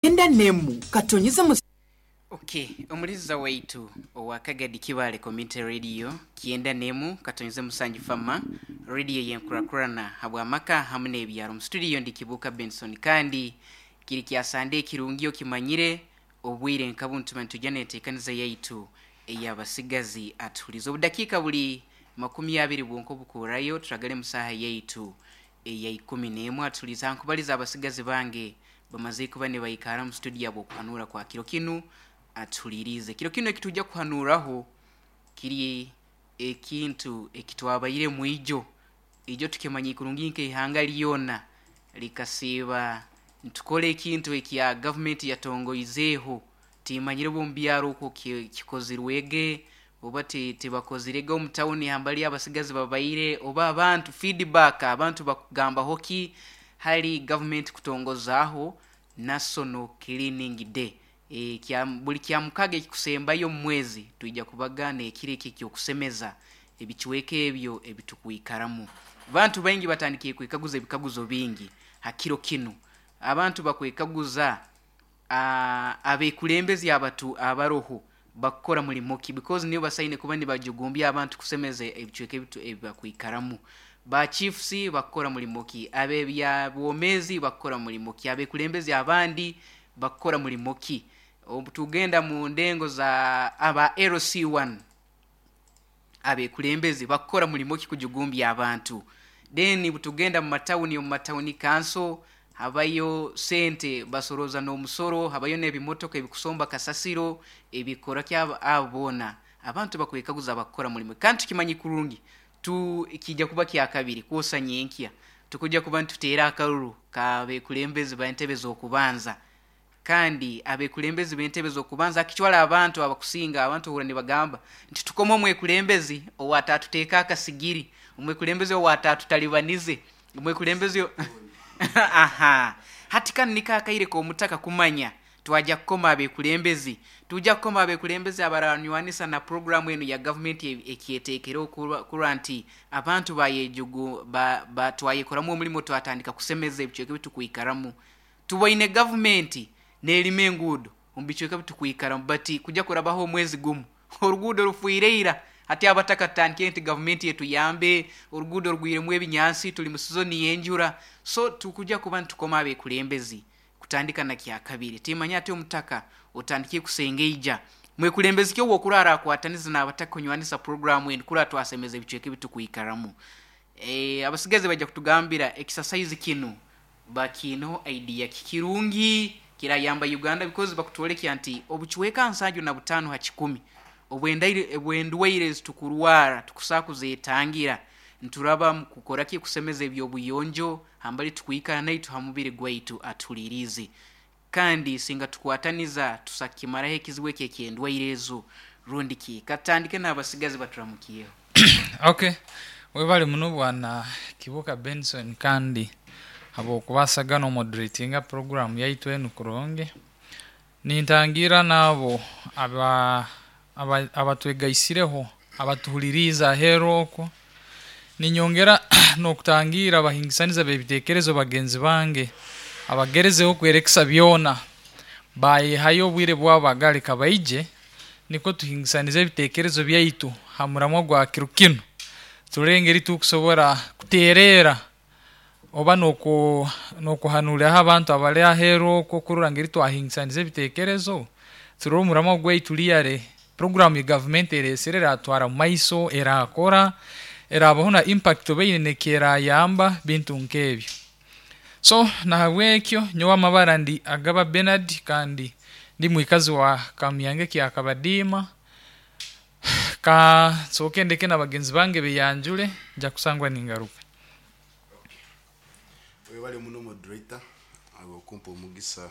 Kyenda n'emu katonyize mu. Ok omuliza waitu owa Kagadi Kibaale Community Radio kyenda nemu katonyize musanju fama radio yenkurakurana habwa maka hamu nebyaro mu studio ndi Kibuuka Benson kandi kiri kya Sande ekirungi okimanyire obwire nka bunu tuba nitwija netekaniza yaitu eyabasigazi atuhulize obudakiika buli 20 bwonka obukuurayo turagale musaha yaitu eya ikumi n'emwe atuliize aha nkubaliza abasigazi bange bamaze kuba nibaikara mu studio habw'okuhanuura kwa kiro kinu atuhuliiriize. Kiro kinu ekitujja kuhanuuraho kiri ekintu ekitwabairemu ijo. Ijo tukimanya kurungi nk'eihanga lyona likasiiba nitukora ekintu ekya gavumenti yatongoizeeho. Timanyire oba omu byaro okwo kikozirwege oba tibakozirege omu tawuni hambali abasigazi babaire oba abantu feedback abantu bakugambaho ki hali gavumenti kutongozaaho National Cleaning Day. E, kya, buli kyamukaga ekikusembayo omu mwezi twija kubaga n'ekiro eki eky'okusemeza ebicweka ebyo ebitukwikaramu. Bantu baingi batandikire kwekaguza ebikaguzo bingi ha kiro kinu. Abantu bakwekaguza abekulembezi abatu abaroho bakukora mulimo ki, because nibo basaine kuba nibajugumbya abantu kusemeza ebicweka ebibakwikaramu. Ba chiefs bakukora mulimo ki, abebyabwomezi bakukora mulimo ki, abekulembezi abandi bakukora mulimo ki. Tugenda mu ndengo za aba LC1 abekulembezi bakukora mulimo ki kujugumbya abantu. Then butugenda mu matawuni, omu matawuni kanso habayo sente basoroza n'omusoro, habayo n'ebimotoka ebikusomba kasasiro ebikora ki abo boona abantu bakwekaguza bakukora mulimo. Kandi tukimanyi kurungi tu kijja kuba kyakabiri kwosa nyenkya tukujja kuba nituteera akaruru kabekulembezi ba entebe z'okubanza. Kandi abekulembezi b'entebe z'okubanza akitwara abantu abakusinga abantu ohura nibagamba nti tukome omwekulembezi owatatuteeka akasigiri, omwekulembezi owatatutalibanize, omwekulembezi aha hati kanu niko akaire k'omutaka kumanya twaja kukoma abekulembezi, tuja kukoma abekulembezi abaranywanisa na programu enu ya gavumenti ekyeteekereho kurora nti abantu bayejugu ba, ba, twayekoramu omulimo twatandika kusemeza ebicweka ebitukwikaramu. Tuboine gavumenti n'erima enguudo omu bicweka bitukwikaramu bati kuja kurabaho omwezi gumu oruguudo rufwire ira. Hati abataka tutandikire nti gavumenti etuyambe, oruguudo rugwiremu ebinyansi, tuli mu sizoni y'enjura. So tukuja kuba nitukoma abekulembezi kutandika na kyakabiri. Timanya ati omutaka otandikire kusengeija mwekulembezi ki ow'okurara akwataniza n'abataka kunywanisa programu enu kurora twasemeza ebicweka ebitukwikaramu. E, abasigazi baija kutugambira exercise kinu bakiineho idea ki kirungi kirayamba Uganda because bakutwolekya nti obucweka 75 ha kikumi obw'endwaire ezitukurwara tukusaa kuzetangira nturaba mu kukora ki kusemeza eby'obuyonjo hambali tukwikara naitu ha mubiri gwaitu atuhuliiriize. Kandi singa tukwataniza tusakimaraho ekizibu eki eky'endwaire ezo rundi ki. Katutandike n'abasigazi baturamukiyeho. Ok, webale muno bwana Kibuuka Benson kandi habw'okubaasa n'omoderatinga puroguramu yaitu enu kurungi. Nintangiira n'abo aba aba abatwegaisireho abatuhuliriize aheeru okwo. Ninyongera n'okutangiira abahingisaniza b'ebiteekerezo bagenzi bange abagerezeho kwerekesa byona bayehayo obwire bwabo bagaleka baije nikwo tuhingisanize ebiteekerezo byaitu ha muramwa gwa kiro kinu turole engeri tukusobora kuteereera oba n'okuhanuuriraho abantu abari aheeru okwo kurora ngeri twahingisaniza ebiteekerezo turole omuramwa gwaitu riyare puroguramu ya gavumenti ereesire eratwara mu maiso erakora erabaho na impact oba eine nekyerayamba bintu nk'ebyo. So nahabwekyo nyowe amabara ndi Agaba Bernard kandi ndi mwikazi wa Kamyange kya Kabadiima. Ka nsooke ndeke na bagenzi bange beyanjure nja kusangwa ningaruka. Webale muno moderator ahabw'okumpa omugisa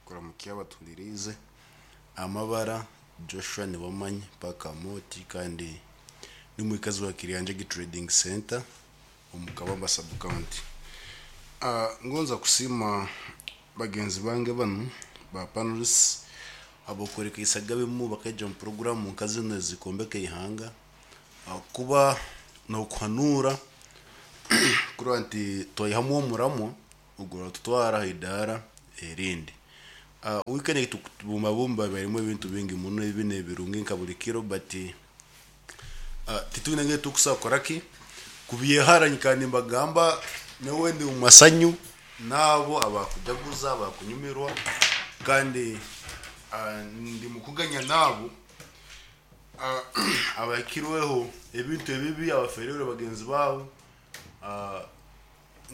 kuramukya abatuhuliriize. Amabara Joshua Niwamanya paka Moti kandi ndi mwikazi wa Kiryanjagi Trading Center omu Kabamba sub county. Ngonza kusiima bagenzi bange banu ba panelists habw'okwerekeisa gabimu bakaija omu puroguramu nka zinu ezikwombeka eihanga ahakuba n'okuhanuura kurora nti twaihamu omuramwa oguratutwara aha idaara erindi. Weekend egi tukubumbabumba ebairemu ebintu bingi muno ebi n'ebirungi nka buri kiro but titwine engeri tukusobola kukora ki kubyehara nyikara nimbagamba nyowe ndi omu masanyu n'abo abakujaguza abakunyumirwa kandi ndi mukuganya n'abo abahikirweho ebintu ebibi abafereirwe bagenzi baabo.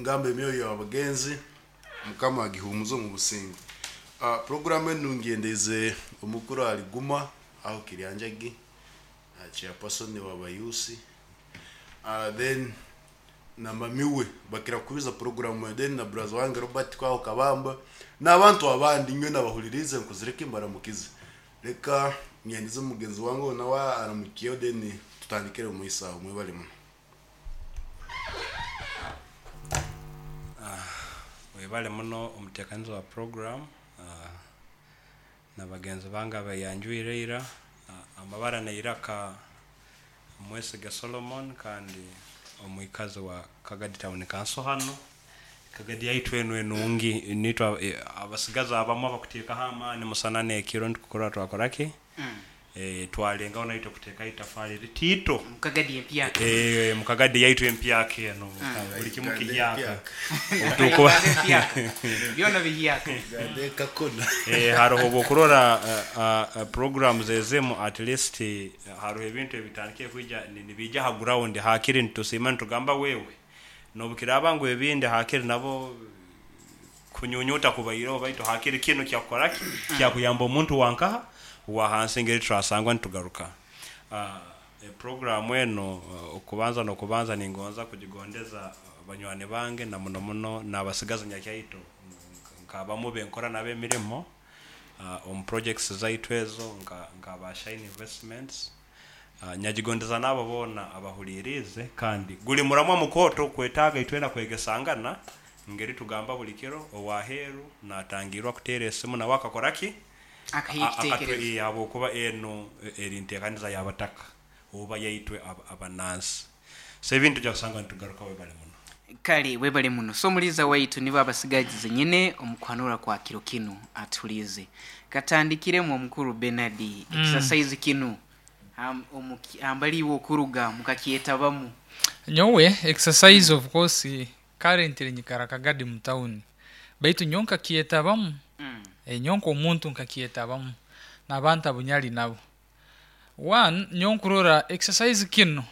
Ngamba emyoyo y'abagenzi Mukama agihumuze omu businge. Puroguramu enu ngyendeize omukuru ahari Guma aho Kiryanjagi, chairperson w'abayuusi, then na mami we bakira kuhuriza puroguramu enu, then na buraza wange Robert kwaho Kabamba n'abantu abandi nyowe nabahuririize nkozire ki mbaramukize. Reka nyendize mugenzi wange onu nawe aramukyeho then tutandikire omu maiso aho. Mwebale muno. Webale muno omutekaniza wa program na bagenzi bange abeyanjwire ira. Amabara neiraka Mwesige Solomon kandi omwikazi wa Kagadi Town Council hanu. Kagadi yaitu enu enungi nitwe abasigazi abamu abakuteekaho amaani musana n'ekiro nitukurora twakora ki? Twalengaho naitwe kuteekaho itafaali ritiito. Mukagadi empyaka. Mukagadi yaitu empyaka enu buli kimu Uganda kihyaka. empyaka. Obutukuba Uganda empyaka. Byona bihyaka. Uganda ekakona. Haroho obwokurora programs ezimu at least haroho ebintu ebitandikire kwija nibiija ha ground hakiri nitusiima nitugamba wewe nobukiraaba ngu ebindi hakiri nabo kunyunyuta kubaireho baitu hakiri kinu kyakukora ki kyakuyamba omuntu wankaha wa hansi engeri turasangwa nitugaruka. Program enu okubanza n'okubanza ningonza kugigondeza banywani bange na muno muno n'abasigazi nyakyaito nk'abamu benkora nabo emirimo omu projects zaitu ezo nka ba Shine Investments. Nyagigondeza n'abo boona abahuliriize kandi guli muramwa mukooto kwetaaga itwena kwegesangana ngeri tugamba buli kiro ow'aheeru naatangirwa kuteera esimu nawe akakora ki? Akaha ekiteekerezo. Habwokuba enu eri nteekaniza y'abataka oba yaitwe abanansi. So ebintu tujja kusanga nitugaruka webale muno. Kale webale muno. So omuliiza waitu nibo abasigazi zenyine omu kuhanura kwa kiro kinu atuhuliize. Katandikiremu omukuru Bernard exercise kinu hambali iwe okuruga mukakyetabamu. Nyowe exercise of course currently nyikara Kagadi mu town baitu nyowe nkakyetabamu. Nyowe nk'omuntu nkakyetabamu n'abantu abu nyali nabo. One, nyowe nkurora exercise kinu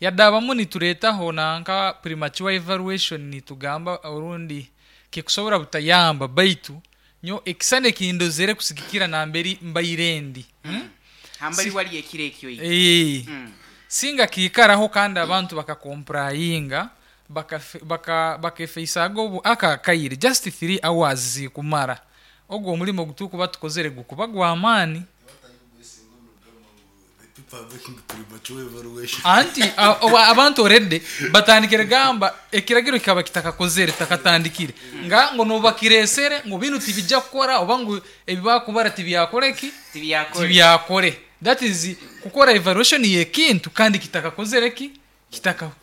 yadabamu nitureetaho nanka premature evaluation nitugamba orundi kikusobora butayamba baitu nyowe ekisani ekindozere kusigikira namberi mbaire ndi. Hambali wali ekiro ekyo iki. Singa kiikaraho kandi abantu bakakomprayinga bakefeisaga obu aka akaire just 3 hours zikumara ogwo omulimo ogutukuba tukozere gukuba gw'amaani. The people are making premature evaluation. Anti abantu already batandikire gamba ekiragiro kikaba kitakakozere kitakatandikire nga ngo nobakiresere ngu binu tibijja kukora oba ngu ebibakubara tibyakore ki? Tibyakore. Tibyakore. That is kukora evaluation y'ekintu kandi kitakakozere ki?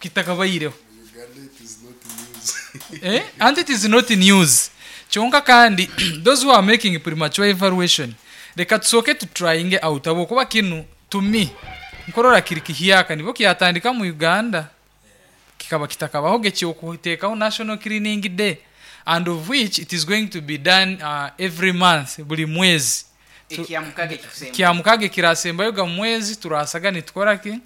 Kitakabaireho. Uganda it is not news. And it is not news. Kyonka kandi those who are making premature evaluation reka tusooke tutryinge out habwokuba kinu to me nkorora kiri kihyaka nibo kyatandika mu Uganda kikaba kitakabaho ekyokuteekaho National Cleaning Day and of which it is going to be done every month buli mwezi. Ekyamukaga ekikusemba. Kyamukaga ekirasembayo ga mwezi turasaga nitukora ki?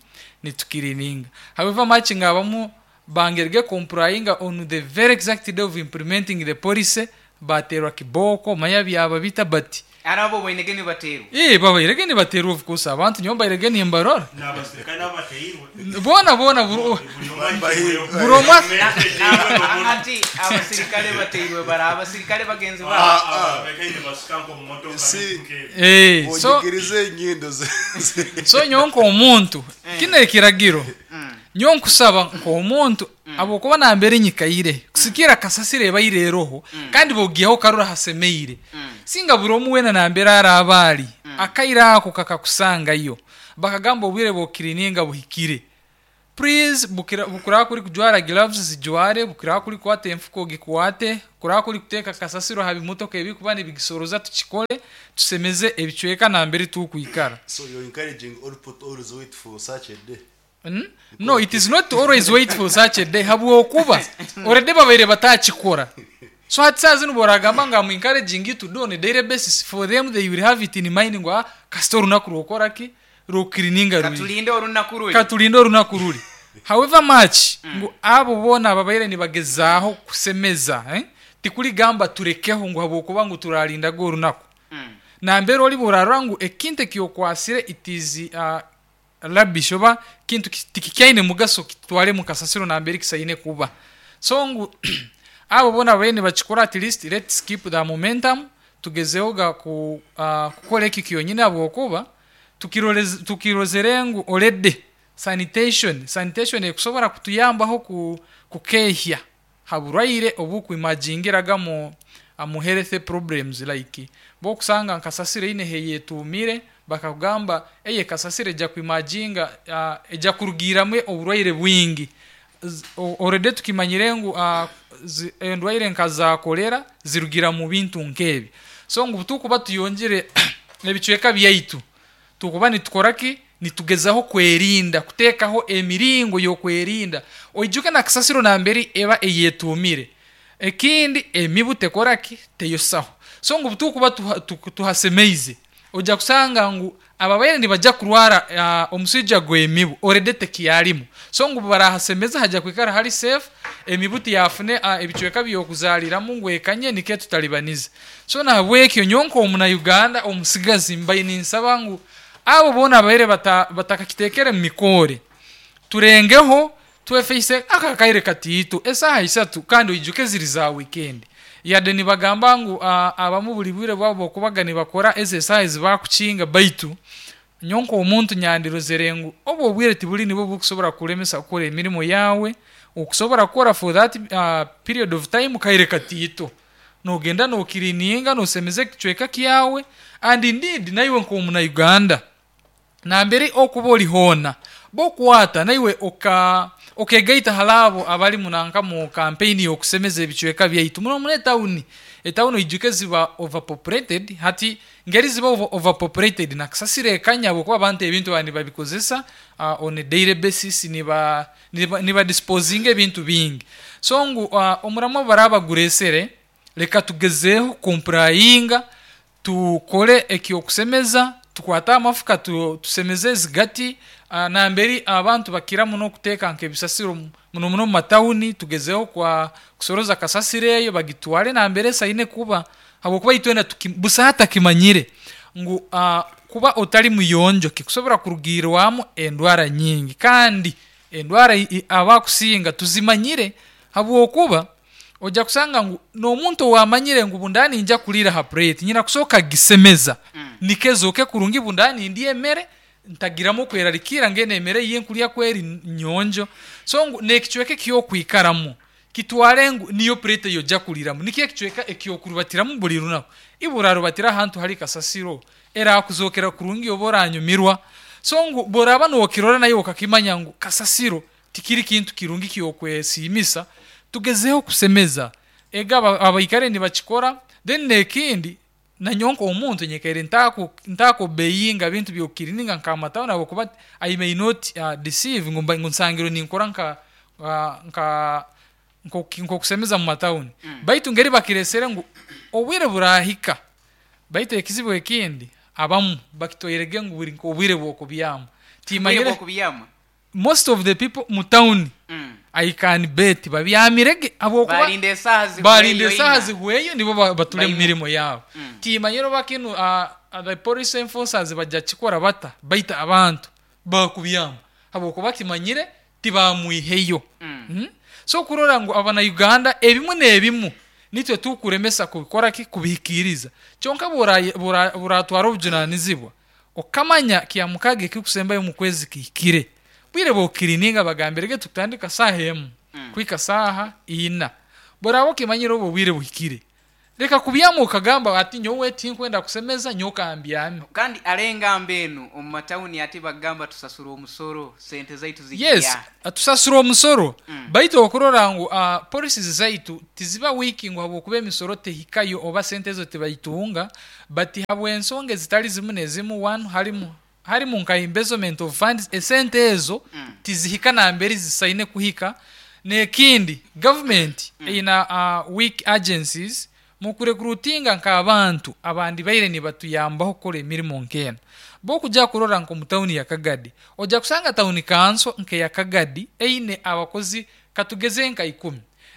Nitukirininga. However much nga abamu bangerege complying on the very exact day of implementing the policy baterwa kiboko manya byaba bita bati Arabo boinege nibaterwa. Babairege nibaterwa of course abantu nyowe mbairege nimbarora. N'abasirikare nabo bateirwe. Bona bona buri omwe Anti abasirikare bateirwe bara abasirikare bagenzi babo. Si. So Onyigirize enyindo ze. So nyowe nk'omuntu kino ekiragiro nyowe nkusaba nk'omuntu habwokuba nambere nyikaire kusikira kasasiro ebaire eroho kandi bogihaho karora hasemeire. Singa buri omwe weena nambere araba ari akaire ako kakakusangayo bakagamba obwire bw'okirininga buhikire. Please bukira bukuraba kuri kujwara gloves zijware, bukuraba kuri kukwata enfuka ogikwate, kuraba kuri kuteeka kasasiro aha bimotoka ebikuba nibigisoroza tukikore, tusemeze ebicweka nambere tukwikara. So you're encouraging all people to always wait for such a day. No, it is not always wait for such a day habwokuba already babaire batakikora. So hati saaha zinu boragamba ngu am encouraging you to do on a daily basis for them they will have it in mind ngu ah kasita orunaku rwokora ki rwokukirininga rwija. Katulinde orunaku ruri. Katulinde orunaku ruri. However much ngu abo boona ababaire nibagezaaho kusemeza eh, tikurigamba turekeho ngu habwokuba ngu turarindaga orunaku. Nambere oriba orarora ngu ekintu eki okwasire it is uh, rubbish oba kintu tikikyaine mugaso kitware mu kasasiro nambere kisaine kuba. So ngu abo boona ababaire nibakikora at least let's keep the momentum tugezeho ga ku uh, kukora eki kyonyini habwokuba tukirozere ngu already sanitation sanitation ekusobora kutuyambaho ku kukehya ha burwaire obukwimajingiraga mu mu health problems like bokusanga nka kasasiro eine heyetuumire bakakugamba eye kasasiro eja kwimajinga uh, eja kurugiiramu oburwaire bwingi already tukimanyire ngu uh, endwaire nka za kolera zirugira mu bintu nkebi so ngu tukuba tuyongere ebicweka byaitu tukuba nitukora ki nitugezaho kwerinda kuteekaho emiringo y'okwerinda oijuke na kasasiro nambere eba eyetuumire ekindi emibu tekora ki teyosaho so ngu tukuba tuhasemeize ojja kusanga ngu ababaire nibajya kurwara uh, omuswija gw'emibu already tekiyarimu so ngu barahasemeza hajya kwikara hari safe emibu tiyafune uh, ebicweka by'okuzaaliramu ngu ekanye nikyo tutalibanize so nahabwekyo nyowe nk'omuna Uganda omusigazi mbaire ninsaba ngu abo boona abaire batakakitekere mu mikoore turengeho twefeise aka akaire katiito esaaha isatu kandi oijuke ziri za weekend yade nibagamba ngu abamu buri bwire bwabo bwokubaga nibakora ezi esaaha ezibakukinga baitu nyowe nk'omuntu nyandirozere ngu obu obwire tiburi nibwo bukusobora kukulemesa kukora emirimo yaawe okusobora kukora for that uh, period of time kaire katiito nogenda nokirininga nosemeza ekicweka kyawe and indeed naiwe nk'omuna Uganda nambere okuba ori hoona bokwata naiwe oka okegaita hali abo abali munanka mu campaign y'okusemeza ebicweka byaitu muno muno etawuni etawuni oijuke ziba overpopulated hati ngeri ziba overpopulated na kasasiro ekanya habwokuba abantu ebintu baba nibabikozesa uh, on a daily basis niba niba, niba disposinga ebintu bingi so ngu uh, omuramwa baraba baguresere leka tugezeeho kumpurayinga tukore eky'okusemeza tukwate amafuka tusemeze ezigati namberi abantu bakira muno kuteeka nk'ebisasiro muno muno omu matawuni tugezeho kwa kusoroza kasasiro eyo bagitware nambere esaine kuba habwokuba itwena busaho atakimanyire ngu uh, kuba otali muyonjo kikusobora kurugiirwamu endwara nyingi kandi endwara abakusinga tuzimanyire habwokuba Oja kusanga ngu n'omuntu owamanyire ngu bundaba ninja kuriira ha plate nyina kusooka kugisemeza nikwo ezooke kurungi bundaba nindya emere ntagiramu okwerarikirra ngu enu emere ei nkurya ku eri nyonjo. So ngu n'ekicweka eky'okwikaramu kitware ngu niyo plate ei oja kuriiramu nikyo ekicweka eky'okurubatiramu buri runaku. Iwe orarubatira ahantu hari kasasiro erakuzookera kurungi oba oranyumirwa? So ngu bworaaba nokirora naiwe okakimanya ngu kasasiro tikiri kintu kirungi ky'okwesiimisa, Tugezeho kusemeza ego abaikare nibakikora then nekindi nanyowe nkomuntu nyikaire ntakobeyinga bintu byokukirininga nka amatawuni habwokuba I may not deceive ngu ngu nsangirwe ninkora nka nka nkokusemeza mumatawuni baitu ngeri bakiresere ngu obwire burahika baitu ekizibu ekindi abamu bakitwairege ngu buri nkobwire bwokubyama Obwire timanyire bw'okubyama. Most of the people mu town I can bet babyamire ge habwokuba Barinda esaaha zihweyo barinda esaaha ina. zihweyo nibo bature mu Baimuke. mirimo yaabo. Timanyire oba kinu the police enforcers baja kikora bata baitu abantu bakubyama habwokuba kimanyire tibamwiheyo. So kurora ngu abana Uganda ebimu n'ebimu nitwe tukuremesa kubikora ki kubihikiiriza kyonka bworatwara obujunanizibwa Okamanya Kyamukaaga ekirikusembayo omu kwezi kihikire. Bwire bw'okukirininga bagambire ge tukutandika saaha emu kuhika saaha ina. Bworaaba okimanyire obu obwire buhikire. Leka kubyama okagamba ati nyowe tinkwenda kusemeza nyowe kambyame. Kandi hare engamba enu omu matawuni ati bagamba tusasura omusoro sente zaitu Yes, zigya. tusasura omusoro baitu okurora ngu policies zaitu tiziba weak ngu habwokuba emisoro tehikayo oba sente ezo tibaitunga, but habw'ensonga ezitali zimu n'ezimu, one harimu harimu nka embezzlement of funds, esente ezo tizihika nambere zisaine kuhika. N'ekindi government eyina weak agencies mu kurecruitinga nk'abantu abandi baire nibatuyambaho kukora emirimo nk'enu. Bwokujya kurora nk'omu tawuni ya Kagadi, ojja kusanga tawuni kanso nk'eya Kagadi eine abakozi katugeze nka 10,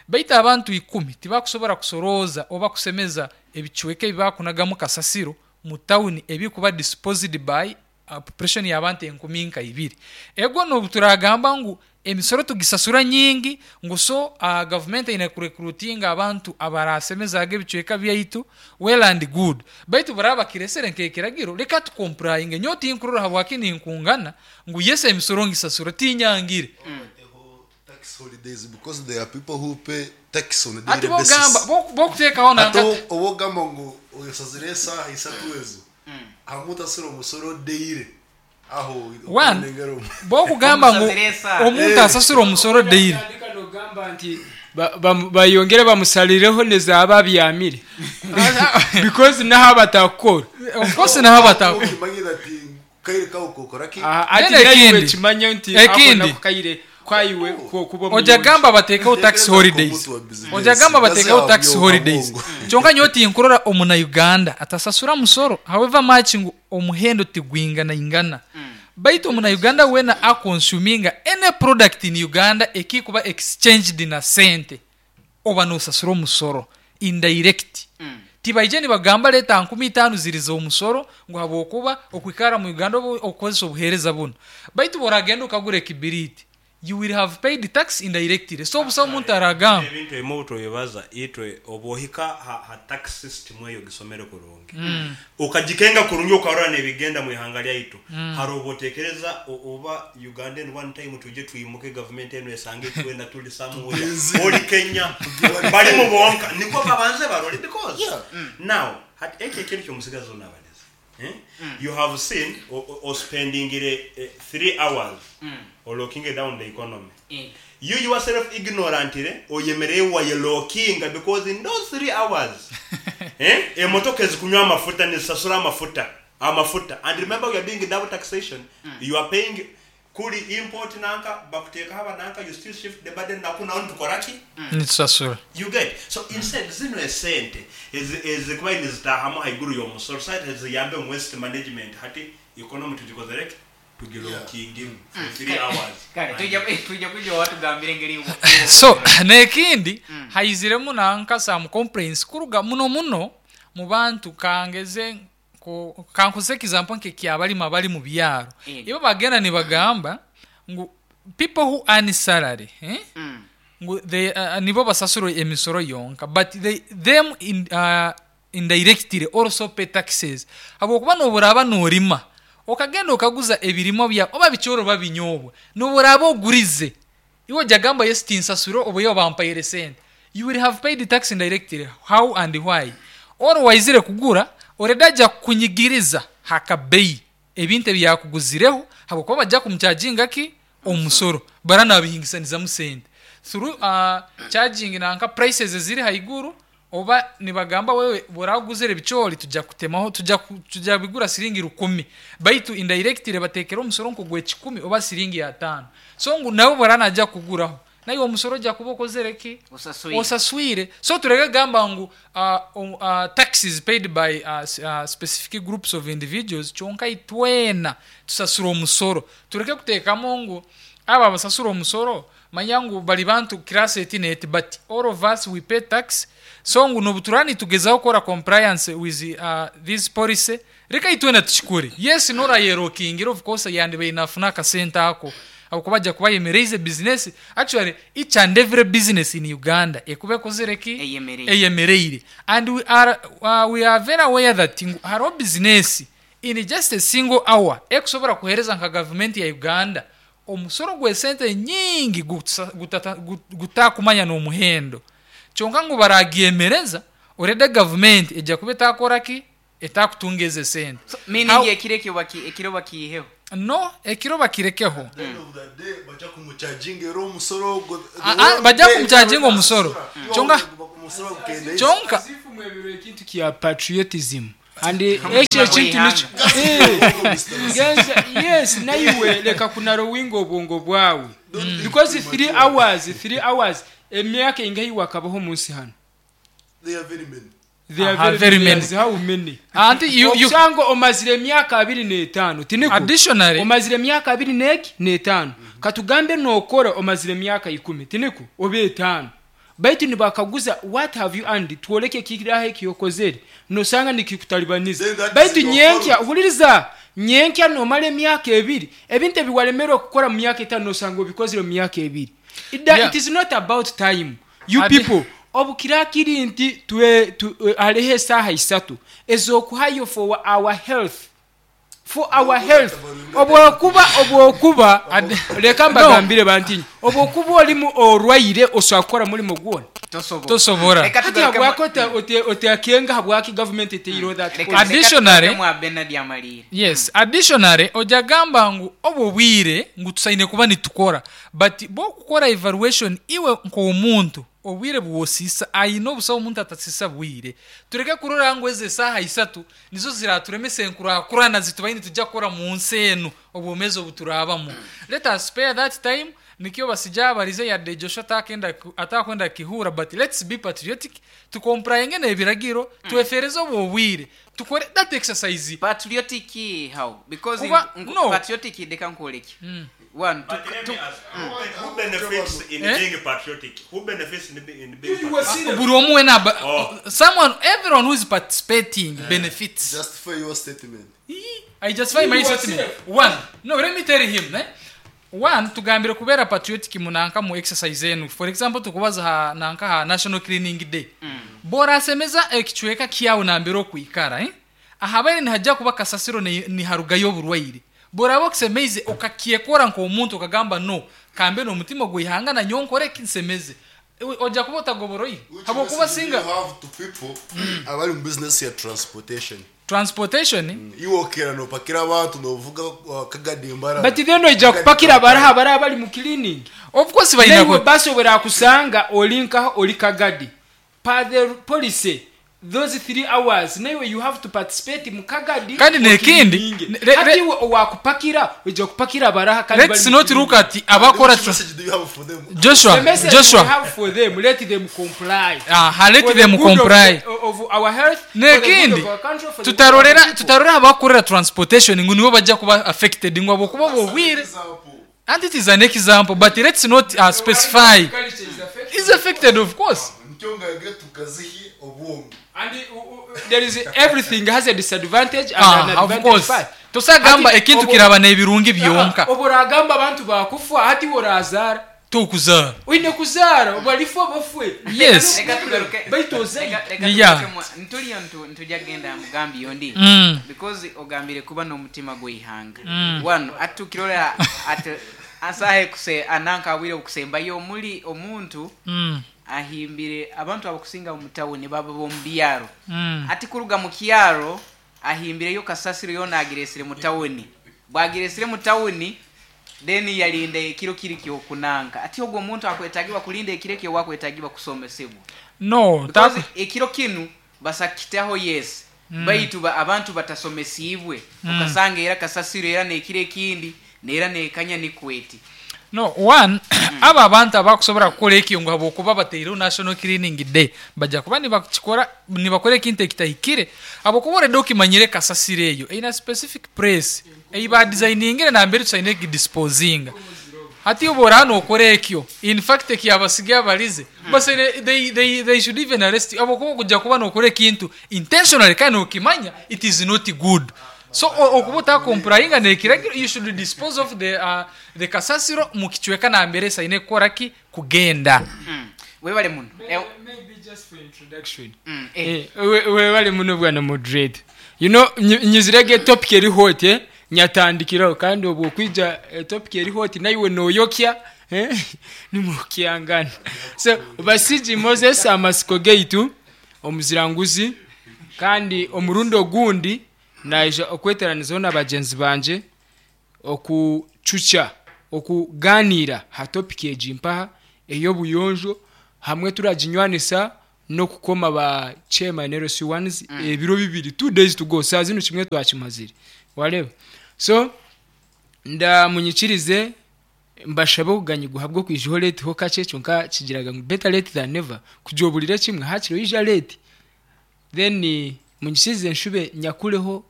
baitu abantu 10 tibakusobora kusorooza oba kusemeza ebicweka ebi bakunagamu kasasiro mu tawuni ebikuba disposed by population y'abantu enkumi nka ibiri. Ego n'obu turagamba ngu emisoro tugisasura nyingi ngu so gavumenti eine kurecruitinga abantu abarasemezaga ebicweka byaitu, well and good, baitu baraba bakiresere nk'ekiragiro reka tucomplyinge. Nyowe tinkurora habwaki ninkungana ngu yes emisoro ngisasura tinyangire. Tax holidays, because there are people who pay tax on a Ati daily bogamba basis. bokuteekaho Ate nanka oba ogamba ngu osazire esaaha isatu ezo hamwe otasura omusoro daily aho One, okunengera bokugamba ngu Omusazire esaaha. omuntu asasura omusoro daily. Otandika nogamba nti bayongere bamusalireho nezaaba abyamire because naho abatakukora. Of course naho abatakukora. Okimanyire ati kaire kawe kokora ki? Ati Then naiwe ekindi. kimanye nti Ekindi. ako nako kaire kwaiwe kuba Ojja omuyonjo. gamba bateekeho tax Ntekereza holidays. nk'omuntu wa business. Ojja gamba bateekeho tax Gazi holidays. abyo Kyonka nyowe tinkurora omunauganda atasasura musoro, however much ngu omuhendo tigwingana ingana. Baitu omunauganda wena aconsuminga any product in Uganda ekikuba exchanged na sente oba nosasura omusoro indirect. Tibaije nibagamba leta nkumi itaano ziriza omusoro ngu habwokuba okwikara mu Uganda obu okozesa obuheereza buno. Baitu boragenda okagura ekibiriti, you will have paid tax indirectly. So obusa omuntu aragamba. Ebintu ebimu obutobibaza itwe obu ohika ha tax system eyo gisomere kurungi. Okagikenga kurungi okarora nebigenda mu ihanga lyaitu. Hari obu otekereza oba Uganda in one time tuje twimuke government eno esange twena tuli somewhere. Oli Kenya bali mu bonka niko babanze barole because now hat eke kintu kyomusigazi onabaleza. You have seen o spending 3 hours or looking down the economy. You yourself ignorantly oyemereye wayelokinga because in those 3 hours emotoka ezikunywa amafuta nizisasura amafuta amafuta, and remember we are doing double taxation. You are paying kuri import nanka bakuteka haba nanka, you still shift the burden naku naho tukoraki Nitusasura. You get so instead zino esente ezikuba nizitahamu haiguru y'omusoro site ziyambe mu waste management hati economy tugikozereke tugilokinge for 3 hours. Kale tujja kujja watugambire engeri So n'ekindi haiziremu nanka some complaints kuruga muno muno mu bantu kangeze kankuze example nk'ekyabalimi abali mu byaro. Ibo bagenda nibagamba ngu people who earn salary, ngu they, nibo basasura emisoro yonka, but they, them in, indirectly also pay taxes. Habwokuba noburaba norima okagenda okaguza ebirimo bya oba bikyoro babinyobwa noburaba ogurize iwe ojja gamba yes tinsasura oba yo bampaire sente, you will have paid tax indirectly. How and why? Or waizire kugura already ajja kukunyigiriza hakabeyi ebintu ebyakuguzireho habwokuba bajja kumucharginga ki omusoro bara nabihingisanizamu sente through charging nanka prices eziri haiguru, oba nibagamba wewe buraguzire bicholi tujja kutemaho tujja bigura siringi 10, baitu indirectly batekera omusoro nko gwe 10 oba siringi ya 5. So ngu nawe buranaja kuguraho nayo omusoro ja kuba okozere ki Osaswire. Osaswire. So turege gamba ngu taxes paid by specific groups of individuals, kyonka itwena tusasura omusoro. Tureke kuteekamu ngu aba basasura omusoro manya ngu bali bantu class eti neti, but all of us we pay tax. So ngu nobuturani tugezaho kukora compliance with this policy, reka itwena tukikore. Yes, nora yerokingira of course yandi bainafuna akasente ako aho bajya kuba yemereye business. Actually each and every business in Uganda ekube kozere ki Eyemereire. Eyemereire, and we are very aware that ngu hariho business in just a single hour ekusobora kuhereza nka government ya Uganda omusoro gw'esente nyingi gutakumanya n'omuhendo, kyonka ngu baragyemereza. Already gavumenti ejja kuba etakora ki? Etakutunga ezo esente. So, meaning How- ekiro ekyo ekiro bakiiheho. No, ekiro bakirekeho. At the end of the day, bajja kumucharginga era omusoro ogwo. Bajja kumucharginga omusoro. Omusoro gukenda Kyonka As if mwebirwe ekintu kya patriotism and ekyo ekintu nikyo Genza, yes, naiwe leka kunarowinga obwongo bwawe because 3 hours, 3 hours emyaka ingahi wakabaho munsi hano. They are very many. They are Aha, very very many. many. How many? Anti you Okusanga omazire emyaka 25, tiniko? Additionally, omazire emyaka abiri n'eki n'etaano. Katugambe n'okora omazire emyaka 10, tiniko? Oba etaano. Baitu nibakaguza what have you earned, twoleke kiraho ekyokozere, nosanga nikikutalibaniza. Then that is Baitu your nyenkya, fault. huliriza, nyenkya nomara emyaka 2, ebintu ebiwalemerwa okukora mu myaka 5 nosanga obikozire mu myaka 2. It is not about time. You people, obukira kiri nti hariho esaaha 3 ez'okuhayo for our health. For our health. Obwokuba, reka mbagambire bantinyi, obwokuba olimu orwaire osobola kukora mulimo gwona. Tosobora. Reka Hati tugaruke habwaki oteakenga habwaki government eteireho that Reka policy? Additionally- tugaruke mwa Bernard Amalire. Yes, additionally ojagamba ngu obwo bwire ngu tusaine kuba nitukora, but bwokukora evaluation iwe nk'omuntu obwire bwosisa ayina obusawo omuntu atasisa bwire. Tureke kurora ngu eze esaaha 3 nizo ziraturemesa enkurakurana zitubaine tujja kukora mu nsi enu obwomezi obuturabamu. Let us spare that time. Nikyo basija abarize yadde Joshua atakwenda kihura, but let's be patriotic, tukomprainge n'ebiragiro, twefereze obwo bwire, tukore that exercise. Patriotic how? Because Kuba, no. patriotic deka nkoleki. One, But let me ask, who benefits in being patriotic? Who benefits in being patriotic? Buri omu wena Oh. someone, everyone who is participating benefits. Justify your statement. I justify my statement. One, no, let me tell him, eh? One, tugambire kubera patriotic munanka mu exercise enu. For example, tukubaza ha nanka ha National Cleaning Day. Bora asemeza ekichweka kiyawe nambere okuikara, eh? Ahabere nihajja kuba kasasiro ni harugayo oburwaire. Bora abokusemeize okakiekora nk'omuntu okagamba no, kambe n'omutima gwihanga na nyonkore kinsemeze. Ojja kuba otagoboroyi. Which Habwokuba message do singa you have to people abari mu business ya transportation? Transportation? Iwokera nopakira abantu novuga kagadimbara. But then oija kupakira abaraha abaraha bari mu cleaning. Of course balina Naiwe basobora kusanga olinkaho oli kagadi. Per the policy, those 3 hours naiwe you have to participate mu kagadi. Kandi nekindi, Okilininge. Hati iwe owakupakira, oija kupakira abaraha kandi Let's bari mu not look cleaning. at abakora Which message do you have for them? Joshua, The message Joshua. we have for them, let them comply. Let For the them good of comply. of our health, for the good Nekindi, of our country, for the good of our people. tutarorera abakorera transportation ngu nibo bajja kuba affected ngu abokuba bobwire. Example. And it is an example, but let's not specify. Culture is affected. It's affected, of course. Nikyo ngagire tukazihi obwongo. And there is everything has a disadvantage and an Of advantage course. part. Tosagamba Hati ekintu kiraba n'ebirungi byonka. Oboragamba abantu bakufa hati worazara. Tukuzara. Oine kuzara balifa bafwe. Yes. Reka tugaruke. Baitu ozaire. Reka Yeah. tugaruke ntuliyo ntujja genda mugambi yondi. Because ogambire kuba n'omutima gw'eihanga. One, atukirora at asahe kuse ananka awire okusembayo omuli omuntu ahimbire abantu abakusinga mu tawuni baba bo mu byaro. Ati kuruga mu kyaro ahimbireyo kasasiro yona agiresire mu tawuni. Bwagiresire mu tawuni then yalinda ekiro kiri kyokunanka. Ati ogwo omuntu akwetagibwa kulinda ekiro ekyo wakwetagibwa kusomesebwa. No, Because ekiro kinu basakitaho yes. Baitu abantu batasomesibwe. Ukasanga era kasasiro era nekiro ekindi nera nekanya nikweti. No, one, aba abantu abakusobola kukola ekyo ngu habwokuba bateireho National Cleaning Day, bajja kuba nibakikora, nibakora ekintu ekitahikire. Habwokuba already okimanyire kasasiro eyo eine specific place ei badesigningire nambere tusaine kidisposinga. Hati obu oraba nokora ekyo, in fact ekyabasigaye abarize, basaine, they should even arrest you. Habwokuba okujja kuba nokora ekintu intentionally kandi nokimanya it is not good. So okuba otakomplyinga nekiragiro, you should dispose of the kasasiro mu kichweka nambere saine kukora ki kugenda. Webale muno. Maybe just for introduction. Webale muno bwana moderator. You know, nyizirege topic eri hot, nyatandikiraho kandi obwo kwija topic eri hot naiwe noyokya, nimukyangana. So basiji Moses amasiko geitu Omuziranguzi kandi omurundi ogundi naija okweteranizaho na bagyenzi bangye okucucya okuganiira ha topic egi mpaha ey'obuyonjo hamwe turaginywanisa n'okukoma ba chairman LC1s ebiro bibiri 2 days to go saa zinu kimwe twakimazire wareeba so ndamunyikirize mbashabe okuganyirwa ahabw'okwijaho late ho kakye kyonka kigiraga ngu better late than never kugira oburire kimwe hakiri oija late then munyikirize nshube nyakureho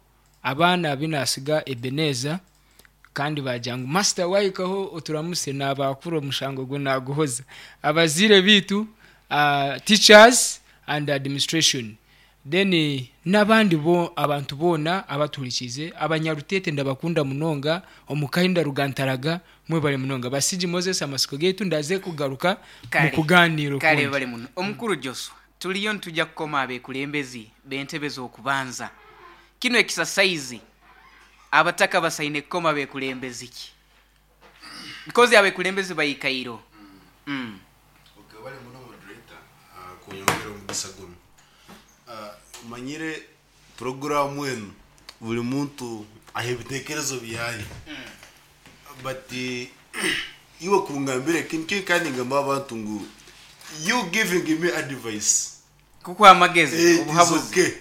abaana abu nasiga Ebenezer kandi bagira ngu master wahikaho oturamuse nabakura omushango gwe naguhoza abazaire bitu teachers and administration then n'abandi bo abantu boona abatuhurikiize abanyarutete ndabakunda munonga omukahinda rugantaraga mwebare munonga Basigi Moses amasiko gaitu ndaze kugaruka Kale, mukuganiira kale okundi. bale muno. Omukuru Joswa, tuliyo nituja kukoma abekulembezi b'entebe z'okubanza. Kinu ekisasaizi abataka basaine kukoma bekulembezi ki? Because abekulembezi baikairo. Okay, bale muno moderator kunyongera omugisa gunu. Omanyire puroguramu enu buli muntu aha ebitekerezo byaye. But iwe kungambira ekintu kyo kandi ngamba abantu ngu you giving me advice Kukuha amagezi, it is obuhabuzi. okay.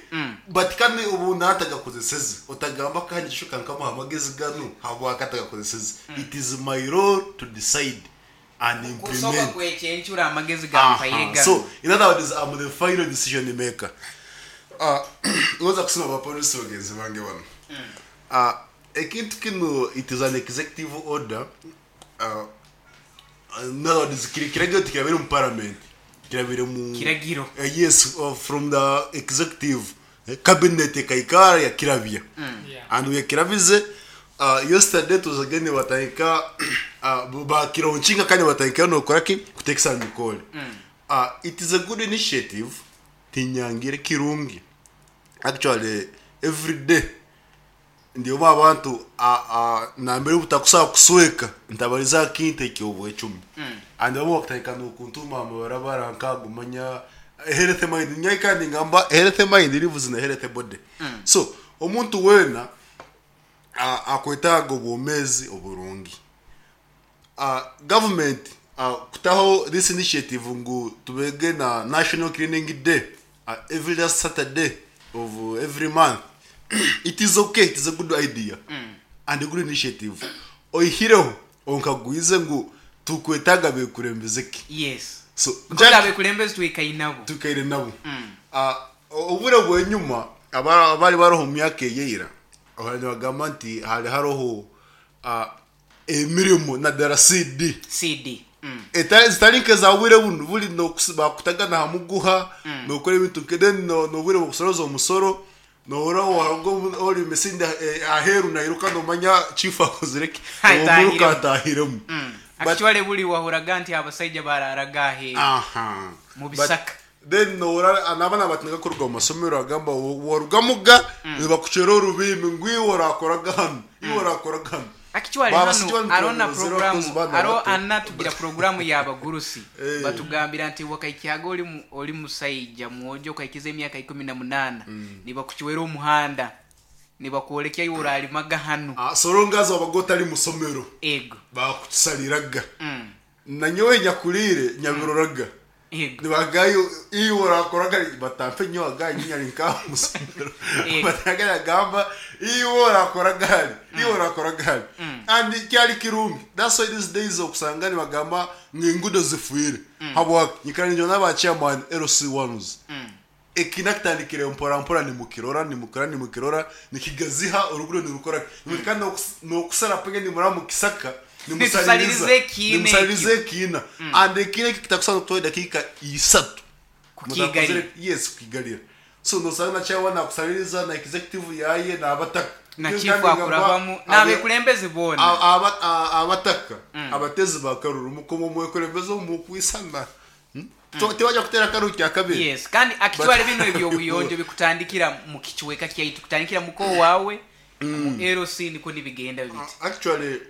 But kandi obu natagakozeseze otagamba kandi kishuka nkamuha amagezi ganu habwaki atagakozeseze. It is my role to decide and Kusoka implement. kwekyencura amagezi gampaire ganu. So in other words, I'm the final decision maker. Ngoza kusoma abapolisi bagenzi bange bano. Ekintu kino it is an executive order. In other words, kiragiro tikirabire mu parliament. Kirabire mu Kiragiro. Yes, from the executive cabinet ekaikara yakirabya. And yakirabize yesterday tuzagende batahika bakiraunchinga kandi batahika nokora ki kutekesa mikole. It is a good initiative tinyangire kirungi. Actually every day ndiyo abantu nambere butakusaba kusweka ntabariza kinte ekyobwecumi. And abo bakutahika nokuntuma amabarabara nkagumanya health mind nyai kandi ngamba health mind lives in a health body. So omuntu wena akwetaaga obwomezi oburungi. Government kutaho this initiative ngu tubege na National Cleaning Day every last Saturday of every month. It is okay, it is a good idea and a good initiative. Oihireho onkagwize ngu tukwetaaga bekurembeze ki. Yes. So Because abekulembezi twikaire nabo. Tukaire nabo. Obure bwenyuma abari baroho mu myaka eyeira abantu bagamba nti hari haroho emirimo na dara CD. CD. Zitari nke za bwire buno buri no bakutagana hamuguha nokora ebintu nke then no bwire bukusoroza omusoro nohora wahago ori mesinda aheru nairuka nomanya chief akozireki Atahiremu. omuruka atahiremu. But Actually buli wahoraga nti abasaija bararaga aheru. Mu bisaka. But then nohora n'abaana batinga kuruga mu masomero agamba warugamuga nibakucera orubimbi ngu iwe orakoraga hano iwe orakoraga hano. Actually Baba hano sikiwa arona niturongoza programu abakozi bana aro bato. ana tugira programu y'abagurusi. Batugambira nti wakaikihaga ori musaija mwojo okaikiza emyaka 18 nibakucwera omuhanda nibakwolekya iwe oralimaga hano. Sorongaza wabaga otari musomero. Ego. Bakutusaliraga. Nanyowe nyakurire nyabiroraga. Ego. Nibagayo iwe orakoraga batampe nyowe agaye nyari nka musomero. Batagara gamba iwe orakoraga hali iwe orakoraga hali. And kyali kirungi. That's why these days okusanga nibagamba ngingudo zifuire. Habwa nyikara njo n'aba chairman LC1s. Ekina kitandikire mpora mpora nimukirora nimukora nimukirora nikigaziha urugudo nirukora. Nimukanda nokusara penge nimura mukisaka. Nimusalirize ekiina Nimusalirize ekiina. And ekiina kitakusana kutoa dakika 3. Kukigarira. Yes, kukigarira. So nosanga na chairman akusaliriza na executive yaye na abataka. Na Niyo chief kandi ngamba akurabamu, n'abekulembeze boona. Abataka, abatezi ba Karuru, mukomo mwekulembeze omukwisana. Tewajja kutera Karuru kya kabiri. Yes, kandi actually But bino ebyobuyonjo bikutandikira mu kichweka kyaitu, kutandikira muko wawe, mu LC niko nibigenda biti. Actually,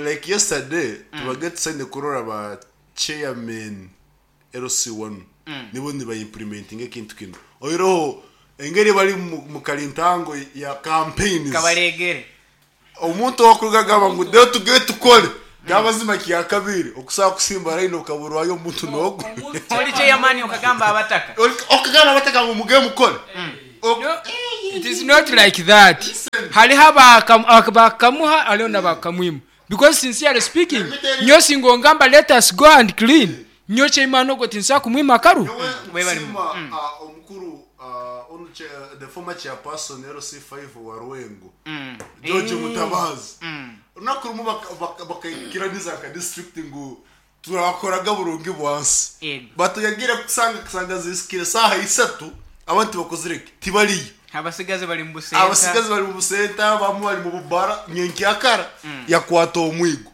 like yesterday, tubage tusende kurora ba chairman LC1 nibo niba implementinga ekintu kinu. Oihireho engeri bari mu karintango ya campaigns. Kabaregere. Omuntu owakuruga agamba ngu rero tugende tukore. Gabazima kyakabiri okusobola kusimba line okaburwayo omuntu n'ogwo. Oli chairman okagamba abataka. Okagamba abataka ngu mugende mukore. No, it is not like that. Hariho abakamuha hariho n'abakamwima. Because sincerely speaking, nyowe singa ongamba let us go and clean, nyowe chairman ogwo tinsobola kumwima akaru. Nyowe nsiima omukuru onu the former chairperson LC5 wa Rwengo George Mutabazi. Orunaku rumwe bakaikiraniza nka district ngu turakoraga burungi bwansi. But yagiire kusanga kusanga zisikire saaha isatu abantu tibakozire ki? Tibariyo. Abasigazi bari mu busenta. Abasigazi bari mu busenta, bamwe bari mu bubara, nyenkyakara yakwata omwigo.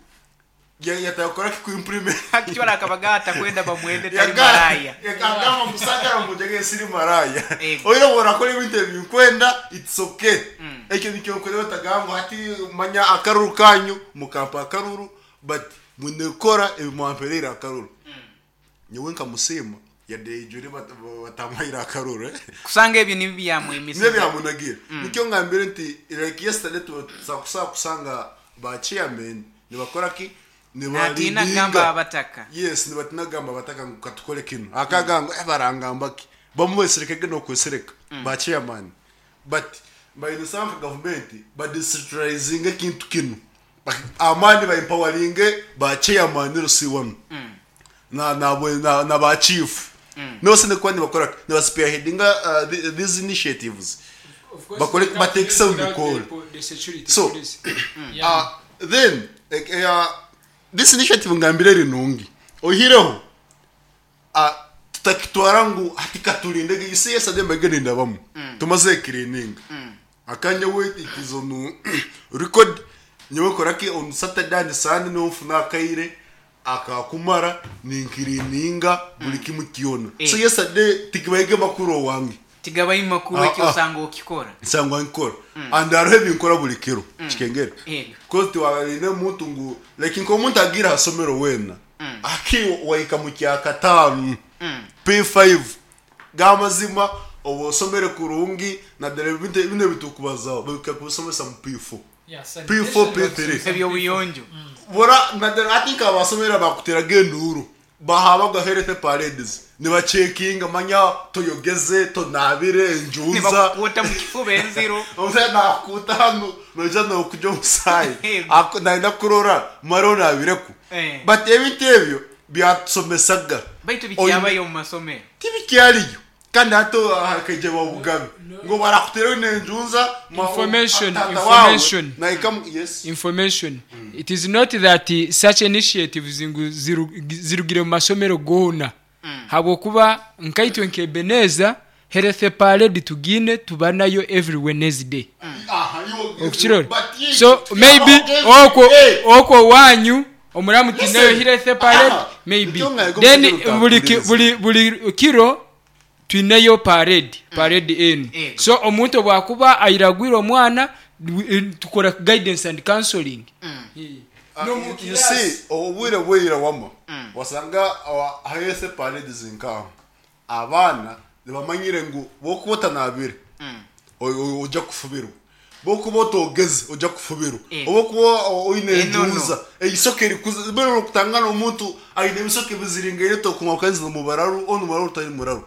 Yatakora ki kuimplement. Actually akabaga atakwenda bamwende tari maraya. Yakagamba musagara mujage siri maraya. Oiro borakora ebintu ebinkwenda, it's okay. Ekyo nikyo nkorera otagamba hati manya akaruru kanyu mukampa akaruru but munekora ebimwampereire akaruru. Nyowe nkamusiima yadde ijure batamuhaire akaruru. Kusanga ebyo nibyo byamwemisize. Nibyo byamunagira. Nikyo ngambire nti like yesterday tusakusa kusanga ba chairman nibakora ki? Natiina kugamba abataka. Yes, nibatina kugamba abataka ngu katukore kinu. Akagamba ngu barangamba ki? Bamweserekege n'okwesereka ba chairman. But bayinisanga nka government ba decentralizing ekintu kinu. Amani ba empowering ba chairman LC1. Na na na, na ba chief. No sine kuba nibakora niba spearheadinga these initiatives. Bakore batekisa mu mikoro. So, then this initiative ngambire rinungi. Ohireho tutakitwara ngu hati katurinde you see yesterday mbagende ndabamu. Tumaze cleaning. Akanya we it is on record nyewe koraki on Saturday and Sunday no mfuna akaire akakumara ninkirininga buli kimu kyona. So yesterday tikibaige makuru wange. Tigabaye makuru ekyo osanga okikora. Nsangwa nkora. And hariho ebinkora buli kiro. Kikengere. Because tiwaine muntu ngu like nko omuntu agira hasomero wena. Aki waika mu kya katanu. P5 gamazima obo osomere kurungi na dere bine bitukubazaho bikakusomesa mu P4. P4 P3. Ebyobuyonjo. Bora na dere I think abasomera bakuteraga enduru. Bahabaga health parades. Nibachekinga manya toyogeze tonabire enjunza. Nibakukuta mu kifuba enziro. Omusayi nakukuta hano noija nokuja omusayi. Ako naenda kurora mara onabireku. But ebintu ebyo byatusomesaga. Baitu bikyabayo mu masomero. Tibikyariyo. Kandi hato hakaija babugabe. Ngo barakutera nenjunza Information, tata wawe, information. naika yes. Information. It is not that such initiatives ngu zirugire mu masomero gona. Habwokuba nkaitwe nkebeneza health parade tugine tuba nayo every Wednesday. Okukirora. But So maybe okwo wanyu omuramu tinayo Listen. health parade maybe. Nikyo ngaye Then gomukiro utakuriza. buli kiro twineyo parade enu. So omuntu bwakuba airagwire omwana tukora guidance and counseling. No, mu You class. see, obwire bwira wama. Wasanga health parade zinkaho. Abaana nibamanyire ngu bokuba otanabire. Ojja kufubirwa. Bokuba otogeze ojja kufubirwa. Obokuba oine enjunza. Eisoke erikuza bero okutangana omuntu aine ebisoke biziringaire tokuma kanzi mu bararu onu mararu tari muraru.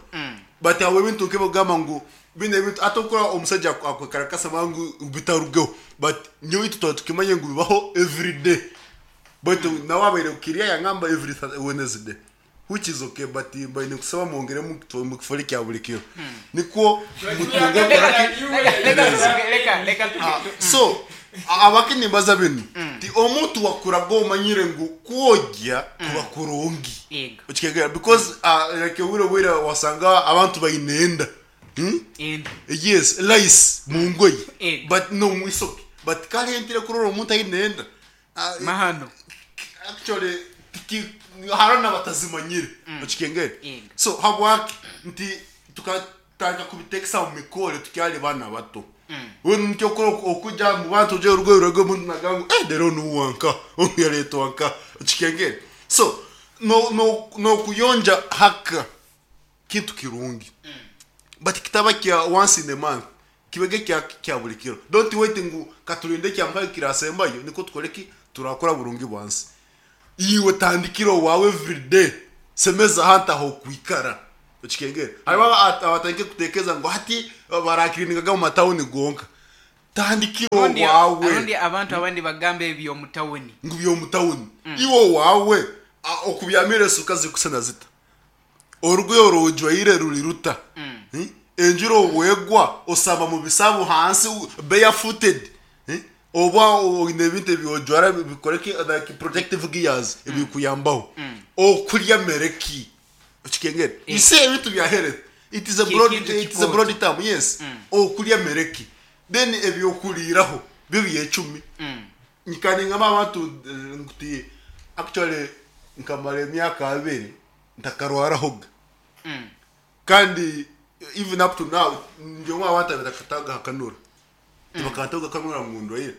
But awe ebintu nkebagamba ngu bine ebintu atokora omusajja akwekarakasa mangu bitarugeho. But nyowe tuba tukimanye ngu bibaho every day. But nawe abaire kukirya yangamba every Wednesday. Which is okay, but mbaine kusaba mwongere mu kifo kya buli kiro. Nikwo mutunge Leka, leka, So abaki nimbaza binu. Ti omuntu wakuraga omanyire ngu kwogya kuba kurungi. Okikegera because like wira wira wasanga abantu bainenda. Yes, lice mu ngoyi. But no mu isoke. But kale ntire kurora omuntu ainenda. Mahano. Actually tiki harana batazimanyire. Okikengere. So habwaki nti tukataka kubitekesa mu mikore tukyali bana bato. We nikyo okujja mu bantu je urugo urugo muntu nagangu rero nuwanka onu yaletwanka okikengere. So N'okuyonja haka kintu kirungi, but kitaba kya once in a month, kibege kya buli kiro. Don't wait ngu katulinde kyamukaga kirasembayo nikwo tukore ki, turakora burungi bwansi. Iwe tandikira owawe everyday, semeza ahantu ah'okwikara. Okikengere hariho abatandike kutekereza ngu hati barakiriningaga mu matawuni gonka. Tandikira owawe. Rundi abantu abandi bagamba eby'omu tawuni. Ngu by'omu tawuni. Iwe owawe okubyamira esuka zirikusana zita? Orugoye oru ojwaire ruri ruta? Enjura obwegwa osamba mu bisabu hansi barefooted? Oba oine ebintu ebi ojwara bikore ki, like protective gears ebikuyambaho? Okurya mere ki? Okikengere? You see, ebintu bya health, it is a broad, Kintu it is a broad kikooto. term, yes. Okurya mere ki? Then ebyokuriiraho byo byecumi. Kandi ngamba abantu nti actually nkamara emyaka 20 ntakarwarahoga. Kandi even up to now ndi omwe abantu abatakatagahakanura, tibakantagakanura ngu ndwaire.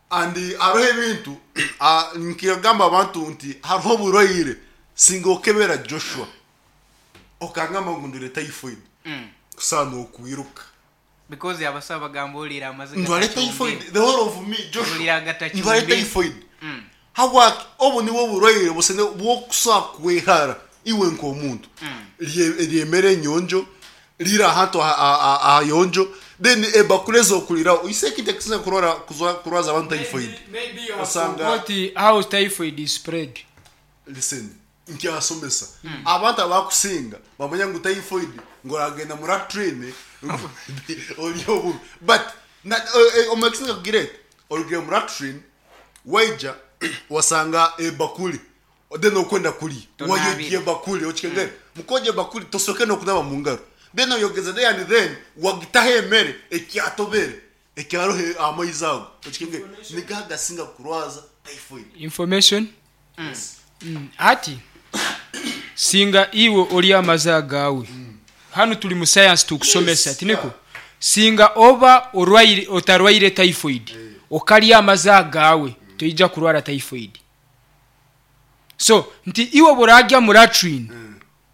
And hariho ebintu nkagamba abantu nti hariho oburwaire, singa okebera Joshua okangamba ngu ndwire typhoid, kusaana nokwiruka. Because abasawo bagamba oliire amazi Ndware gatacumbire. typhoid, the whole of me, Joshua. Oliire agatacumbire. Ndware typhoid. Habwaki? Obu nibwo oburwaire busene bw'okusobola kwehara iwe nk'omuntu. Ryemere enyonjo, rira ahantu ahayonjo, then ebakuli ez'okuriraho. You see, ekintu ekisinga kurwara kurwaza abantu typhoid. Maybe you have Osanga forgot how typhoid is spread. Listen, nkyasomesa. Abantu abakusinga bamanya ngu typhoid ngu oragenda mu latrine ori obubi. But omu ekisinga kugira eti, orugire mu latrine waija wasanga ebakuli, then okwenda kurya, Tonaabire. wayogya ebakuli, okikengere? Mukwogya ebakuli tosoke n'okunaaba mu ngaro. Then oyogeza there and then wagitaho emere ekyatobere ekyaroho amaizi ago, okikengere? Nigo agasinga kurwaza typhoid. Information. Hati singa iwe ori amazi agawe, hanu turi mu science tukusomesa. Tiniko? Singa oba orwaire, otarwaire typhoid, okarya amazi agawe, toija kurwara typhoid. So nti iwe burarya mu latrine,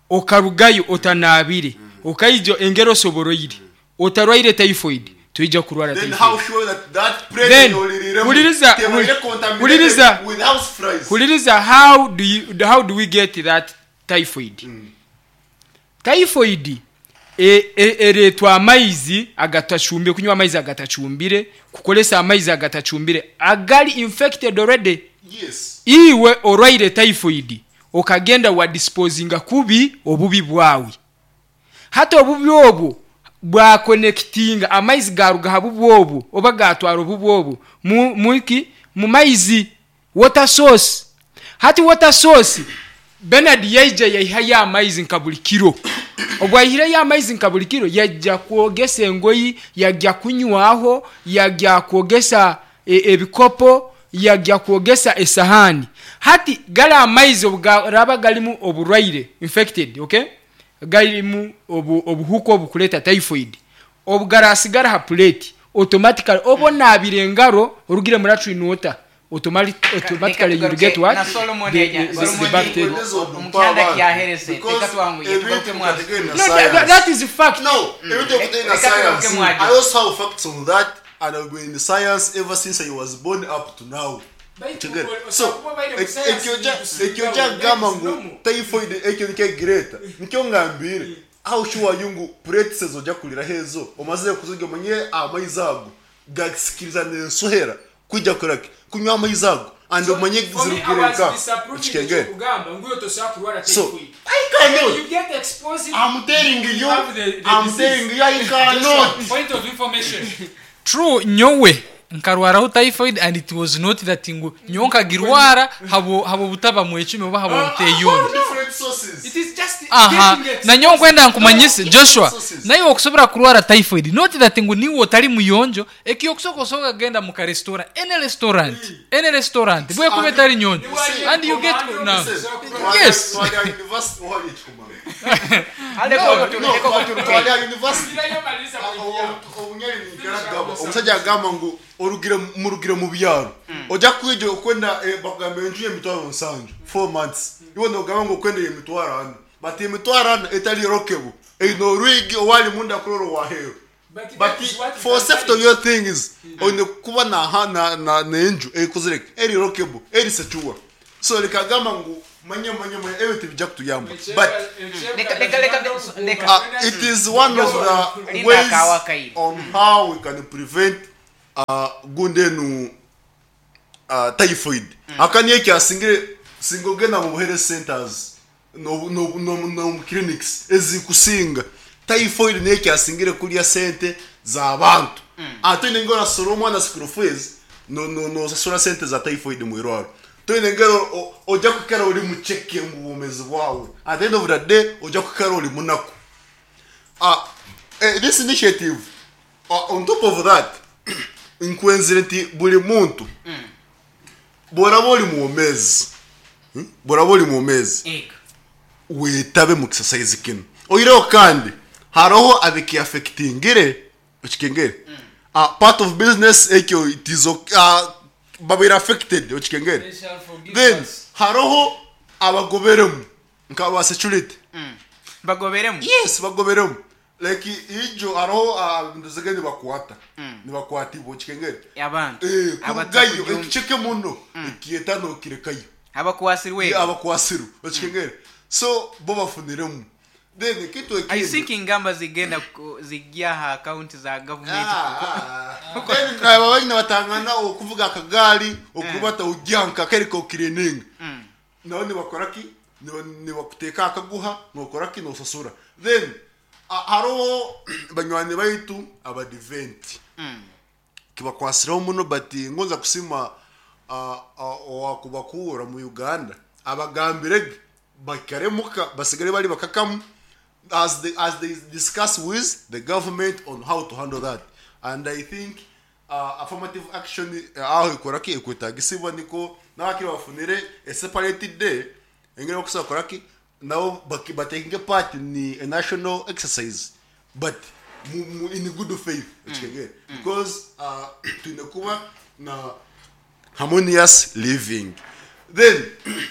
okarugayo otanabire, okaija engero osoboroire, otarwaire typhoid, toija kurwara Then typhoid. how sure that that plate Then, yoliriremu huliriza, tebaire contaminated huliriza, with house flies? Huliriza, how do we get that typhoid? Typhoid ereetwa amaizi agatacumbire, kunywa amaizi agatacumbire, kukoresa amaizi agatacumbire agali infected already. Iwe orwaire typhoid, okagenda wa disposinga kubi obubi bwawe. Hati obubi obwo bwakonekitinga, amaizi garuga ha bubi obwo oba gatwara obubi obwo muki, mu maizi, water source. Hati water source, Bernard yaija yaihayo amaizi nka buli kiro. Obwo aihireyo amaizi nka buli kiro, yajja kwogesa engoyi, yajja kunywaho, yajja kwogesa ebikopo, yajja kwogesa esahani. Hati gali amaizi obu garaba garimu oburwaire, infected, okay, garimu obuhuka obukureta typhoid, obu garasigara ha plate, automatically oba onabire engaro, orugire mu latrine water, automatically you will get what? Na Solomon The Solomon bacteria. Omukyanda kyaherese. Reka twanguye, tugaruke mwazo. No, that is fact. No, ebintu okutenda Reka tugaruke science. mwajo. I also have facts on that, and I've been in science ever since I was born up to now. Kigere. So, ekyo kyagamba ngu typhoid ekyo nikyo egireta, nikyo ngambire. How sure are you ngu plates ezo ojja kuriraho ezo omazire kuzirya, omanye amaizi ago gasikiriza n'ensohera kwijja kukoraki, kunywa amaizi ago, and omanye zirugire nka, okikengere? So, I cannot. You get exposed. I'm telling you, have the I'm disease. telling you, I cannot. Point of information, true, nyowe nkarwaraho typhoid, and it was not that ngu nyowe nkagirwara habo butaba mwecumi oba habo buteyonja. Different sources. It is just Aha. getting exposed. Na nyowe nkwenda nkumanyise, Joshua, Sources. naye okusobora kurwara typhoid, not that ngu niwe otali muyonjo. Ekyo okusoka osobola kugenda mu ka restaurant, any restaurant, any restaurant bwekuba etali nyonjo, and you get no. Yes. Twali university, wali ekikumanga. Ale No, reka ko twali university. Obunyali nikaragaba. Omusajja agamba ngu orugire murugire mu byaro. Ojja kwija okwenda eh, bakugamba enju y'emitwaro nsanju 4 months, iwe nogamba ngu okwenda emitwaro ana, but emitwaro ana etali lockable, eine orwigi owali munda kurora owaheeru. But for safety of your things, oine kuba na na na n'enju ekozire eri lockable, eri secure. So likagamba ngu manya manya manya ebintu bijja kutuyamba, but Leka- leka- leka- leka. It is one of the Linda ways akawakaire. On how we can prevent gundenu typhoid. Aka niyo kyasingire singa ogenda mu health centers no mu clinics ezikusinga, typhoid niyo kyasingire kulya sente z'abantu. Ate nengera orasora omwana school fees, no nosasura sente za typhoid mu irwaro. Toine ngero ojja kukara ori mucheke mu bumezi bwawe. At the end of the day ojja kukara ori munaku. This initiative, on top of that, nkwenzire nti buli muntu bworaba ori mwomezi, Bworaba ori mwomezi, Ego. wetabe mu exercise kino. Oireho kandi hariho abikiaffectingire, okikengere, part of business ekyo, it is babaire affected, okikengere. Then hariho abagoberemu nk'aba security. Bagoberemu? Yes, bagoberemu. Like ijo hariho ndizige nibakwata, nibakwatibwa, okikengere. Abantu Eh, kurugayo ekiceke muno ekiyeta nokirekayo. Abakwasirwe. Abakwasiru, okikengere. So bo bafuniremu. Then ekintu I ekindi, think ingamba zigenda zijja ha akaunti za gavumenti. Then aba banyina batangana okuvuga akagaali, okubata ujyanka kereka okirininga, nabo nibakora ki? Nibakuteeka akaguha, nokora ki? Nosasura. Then hariho banywani baitu abadiventi kibakwasireho muno, but ngonza kusima owakubakura mu Uganda abagambirege bakaremuka basigare bari bakakamu as they discuss with the government on how to handle that. And I think affirmative action aho ikora ki ekwetagisibwa, niko n'abakiri bafunire a separate day engeri okusobola kora ki nabo batakinge part in a national exercise, but in good faith, okikegere, because twine kuba na harmonious living. Then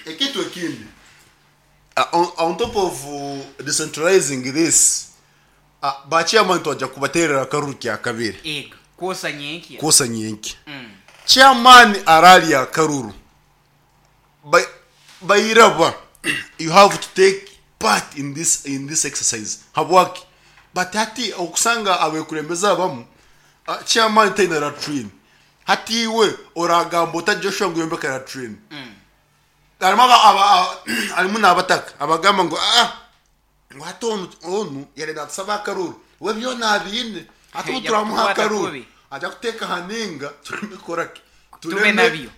ekintu ekindi, on top of decentralizing this, ba chairman twajja kubaterera akaruru kya kabiri. Ego, kwosa nyenkya. Kwosa nyenki. Chairman arali akaruru bayiraba, you have to take part in this exercise. Habwaki? But hati okusanga abekulembeze abamu, chairman taina latrine. Hati iwe oragamba ota Joshua ngu yombeka latrine? Harimu harimu n'abataka abagamba ngu ah, ngu hati onu yari natusaba akaruru, we byona abiine, hati ubu Ajja turamuha kukwata akaruru kubi. Ajja kuteeka haninga tureme koraki? Tube nabyo.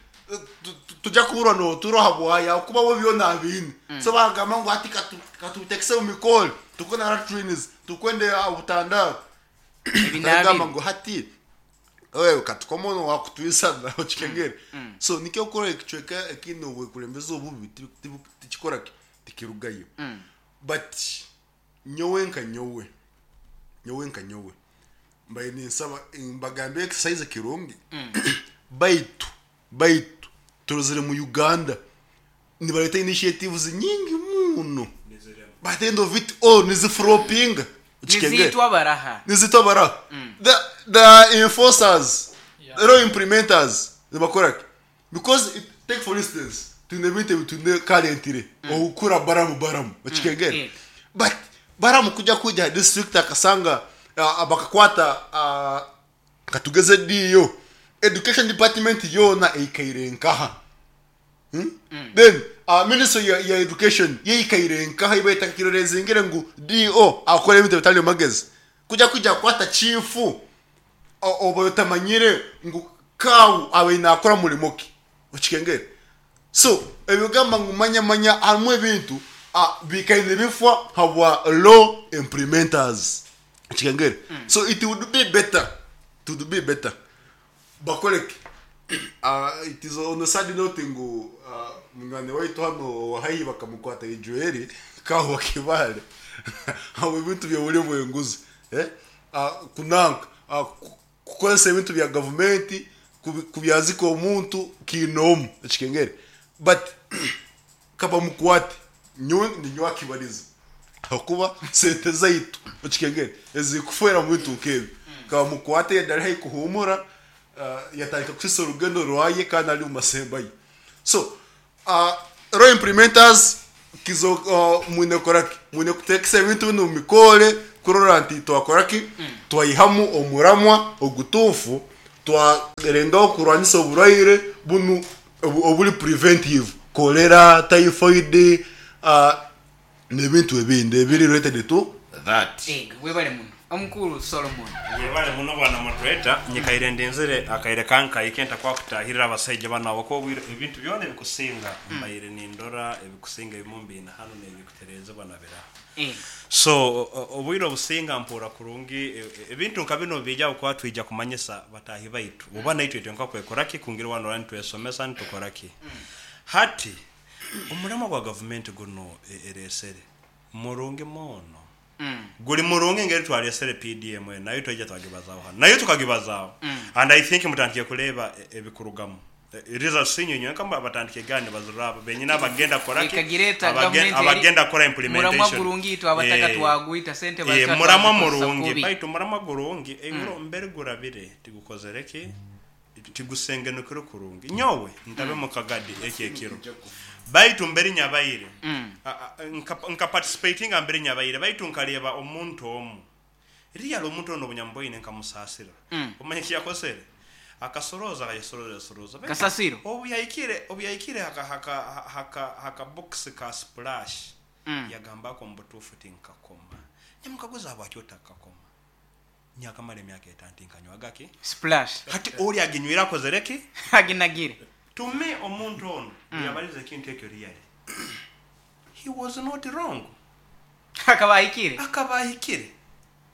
Tujja kuburwa noturoha bwaya kuba bo byona abiine. So bagamba ngu hati katubitekese mu mikoro, tukwe na latrines, tukwende obutandaro. Ebinaabiro. Agamba ngu hati wewe katukomono wakutwisana, okikengere. So nikyo okukora ekicweka ekindi obwekulembeze obubi tikikora ki tikirugayo. But nyowe nka nyowe, nyowe nka nyowe, mbaye ninsaba mbagambe exercise kirungi, baitu turozire mu Uganda nibareta initiatives nyingi muno, but at the end of it all niziflopinga, okikengere. Nizitwa baraha? Nizitwa bara the enforcers, the law implementers nibakora ki? Because take for instance, twine ebintu ebi twine currently okukura baramu baramu, okikengere. But baramu kujya district akasanga bakakwata, katugeze diyo education department yona eikaire nkaha. Then ministry ya education yeikaire nkaha, ibaita kirorezingire ngu do akora ebintu bitali magezi kujya kwata chifu oba otamanyire ngu kawu abe nakora murimo ki, okikengere. So ebigamba ngu manya manya harimu ebintu bikaine bifwa habwa law implementers, okikengere. So it would be better, it would be better bakoleke. It is on a sad note ngu munywani waitu hano wahayi bakamukwata ijueri kaho bakibale abo ebintu byobuli bwenguzi, eh? Kunanka kukozesa ebintu bya gavumenti. Kubyazika omuntu kiinoomu ekikengere but kabamukwate nyowe ninyowe akibariza ahakuba sente zaitu okikengere ezikufeera omu bintu nk'ebi kabamukwate yenda ari haihi kuhuumura yatandika kusisa orugendo rwaye kandi ari omu masemba ye so law implementers kizo mwine kukora ki mwine kuteekesa ebintu binu mubikoore kurora nti twakora ki twaihamu omuramwa ogutuufu twarengaho kurwanisa oburwaire bunu oburi preventive cholera, typhoid n'ebintu ebindi ebiri related to that. Ego, webale muno Omukuru Solomon. Webale muno bwana moderator, nyikaire ndinzire akaire kankaike ntakwakutahirira abasaija banu ahabwokuba obwire ebintu byona ebikusinga mbaire nindora ebikusinga ebimu mbiine hanu nebikuterezebwa na biraha. So obwire obusinga mpuura kurungi ebintu nka binu obubiija ahabwokuba twija kumanyisa bataahi baitu oba naitwe itwe nka kwekora ki kungira wanora nitwesomesa nitukora ki. Hati omuramwa gwa gavumenti gunu eresere murungi moono. Guri murungi engeri twaresere PDM enu nayo twaija twagibazaho hanu nayo tukagibazaho and I think mutandikire kureeba ebikurugamu. Results inywe inywenka abatandikire gani nibazirora abo benyini abagenda kukora ki? Ekagireeta gavumenti eri Abagenda kukora muramwa implementation. gurungi itwe abataka twagwita sente bazita Muramwa twazikozesa murungi kubi. baitu muramwa gurungi ebiro mbere gurabire tigukozere ki? Tigusengenukire kurungi. Nyowe ntabe mu kagadi eki ekiro baitu mbere nyabaire nka participatinga mbere nyabaire baitu nkareeba omuntu omu Really omuntu onu obunyamboine nkamusaasira. Omanya eki yakozere? Akasorooza akayesorooza yasorooza. Baitu Kasasiro. obu yahikire obu yahikire haka haka haka haka box ka splash yagamba ako omu butuufu tinkakoma. Nyamukaguza habwaki otakakoma? Nyakamara emyaka etaano tinkanywaga ki? Splash. Hati ori aginywire akozere ki? Aginagire. To me omuntu onu obu yabalize ekintu ekyo really he was not wrong. Akaba ahikire. Akaba ahikire.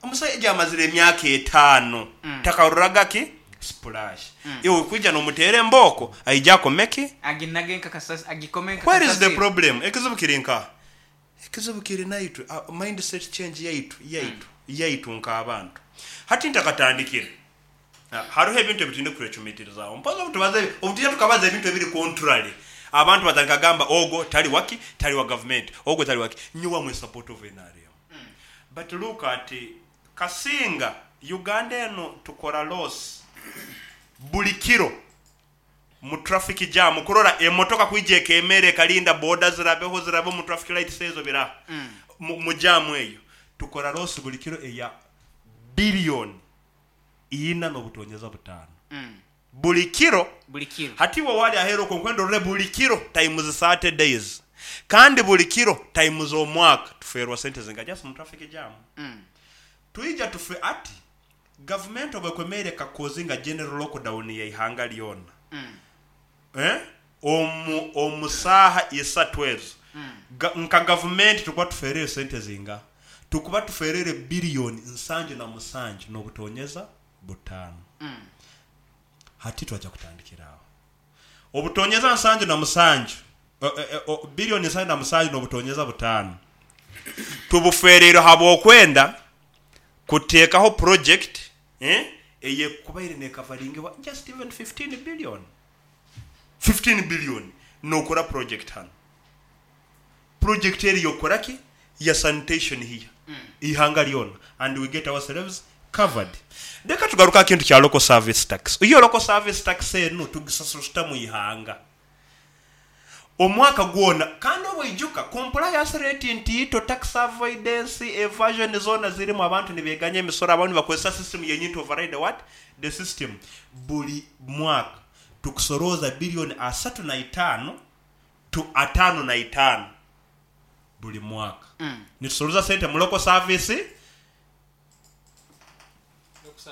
Omusaija amazire emyaka etaano takaroraga ki? Splash. Iwe kwija nomuteera embooko aije akome ki? Aginage nka kasasiro, agikome nka Where is the kasasiro. problem? Ekizibu kiri nkaha? Ekizibu kiri naitwe, mindset change yaitu, yaitu, yaitu nk'abantu. Hati ntakatandikire, Hariho ebintu ebi twine kwecumiitirizaaho. Mpozi obu tubaza obu twija tukabaza ebintu ebiri contrary, abantu batandika kugamba ogwo tari waki, tari wa gavumenti, ogwo tari waki. Nyowe am in support of nrm. But look at kasinga Uganda enu tukora loss buri kiro mu traffic jam kurora emotoka kwija ekemeera ekarinda boda zirabeho zirabe omu traffic lights ezo biraha mu jam eyo. Tukora loss buri kiro eya billion ina n'obutonyeza butaano buri kiro. Buri kiro. Hati iwe waari aheeru okwo nkwenda orore buri kiro times 30 days kandi buri kiro times omwaka tufeerwa sente zinga just mu traffic jam. Twija tufe ati gavumenti obu ekwemeire ekakozinga general lockdown y'eihanga ryona eh omu omu saaha isatu ezo ga nka gavumenti tukuba tufeereire sente zingaha? Tukuba tufeereire billion nsanju na musanju n'obutonyeza butaano. Hati twaija kutandikira aho. Obutonyeza nsanju na musanju, billion nsanju na musanju n'obutonyeza butaano tubufeereire habw'okwenda kuteekaho project eyekubaire neekavaringibwa just even 15 billion. 15 billion nookora project hanu. Project eri y'okukora ki? Ya sanitation here eihanga ryona and we get ourselves covered. Leka tugaruke aha kintu kya local service tax. Yo local service tax enu tugisasura tuta mu ihanga? Omwaka gwona kandi obwaijuka compliance rate ntiito, tax avoidance, evasion zoona zirimu, abantu nibeganya emisoro, abamwe nibakozesa system yenyini to override what? The system. Buri mwaka tukusorooza billion asatu na itaano to ataano na itaano buri mwaka. Nitusoroza sente mu local service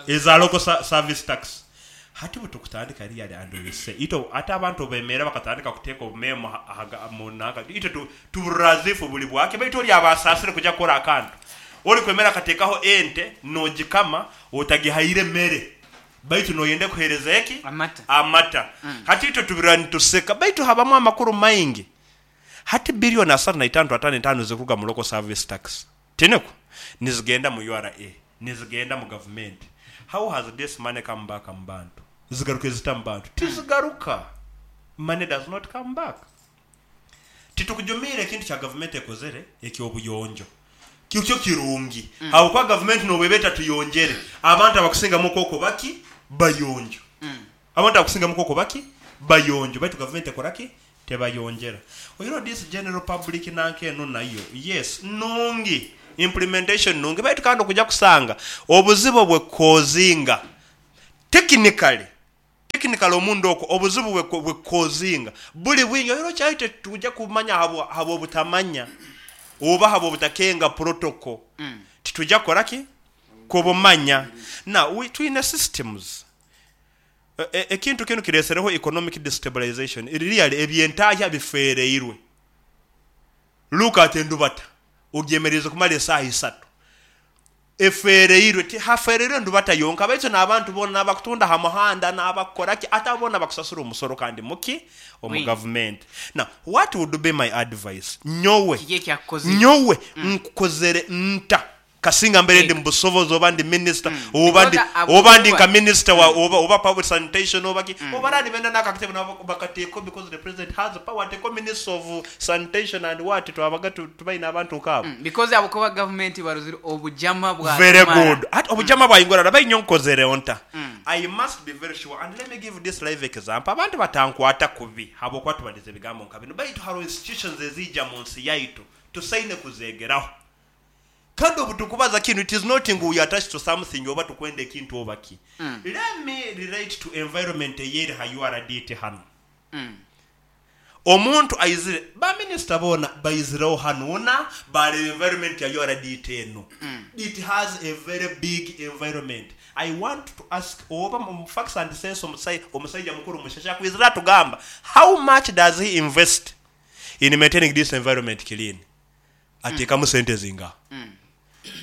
eza local service tax. Hati bwetukutandika really and we say itwe ate abantu obubemeera bakatandika kuteeka obumeemo aha mu nanka itwe tuburira as if buri bwake baitu ori aba asaasire kuja kukora akantu. Orikwemera akateekaho ente nogikama otagihaire mere. Baitu noyenda ekuheereze eki? Amata. Amata. Hati itwe tubirora nituseka, baitu habamu amakuru maingi. Hati billion asatu na itaano to ataano etaano zirikuruga mu local service tax, tinikwo? Nizigenda mu ura, nizigenda mu gavumenti. How has this money come back mu bantu? Zigaruka zita mu bantu? Tizigaruka. Money does not come back. Titukujumiire ekintu kya gavumenti ekozere eky'obuyonjo. Kikyo kirungi habwokuba gavumenti n'obu eba etatuyonjere, abantu abakusingamu okwo baki? Bayonjo. Abantu abakusingamu okwo baki? Bayonjo baitu gavumenti ekora ki? Tebayonjera. Oihireho this general public nanka enu nayo yes nungi, implementation nungi baitu kandi okuja kusanga obuzibu obwekukozinga technically, technically omunda okwo obuzibu bwekukozinga buri bwingi oihireho kyaitu tituja kumanya habw'obutamanya oba habw'obutakenga protocol tituja kukora ki? Kubumanya. Now we twine systems. Ekintu kinu kireesereho economic destabilization, really eby'entahya bifeereirwe. Look at endubata ogyemereize kumara esaaha isatu, efeereirwe. Tihafeereirwe ndubata yonka baitu n'abantu boona, n'abakutunda ha muhanda, n'abakukora ki, ate abo boona bakusasura omusoro kandi muki? Omu Mwingi. gavumenti. Now, what would be my advice? Nyowe, Kiki ekyakukozire? nyowe nkukozere nta? Kasinga mbaire ndi Yego. mu busobozi oba ndi minisita oba ndi Because oba ndi ahabw'okuba nka minisita wa oba oba public sanitation oba ki oba baraba nibenda n'ako akatebe nabo bakateekaho because the president has power ateekeho minister of sanitation and what twabaga tu tubaine abantu nk'abo. Because ahabw'okuba gavumenti barozire obujama Very bwatumara. good. Hati obujama bwaingurana bainye nkozereho nta? I must be very sure and let me give this live example abantu batankwata kubi habw'okuba tubalize ebigambo nka binu baitu haroho institutions eziija mu nsi yaitu tusaine kuzeegeraho. Kandi obu tukubaza kinu it is not ngu we are attached to something oba tukwenda ekintu oba ki. Let me relate to environment eyeri ha URDT hanu. Omuntu aizire, ba minister boona baizireho hanu na bareeba environment ya URDT enu. It has a very big environment. I want to ask oba mu facts and sense omusaija mukuru Mushasha akwizire atugamba how much does he invest in maintaining this environment clean? Ateekamu sente zingaha?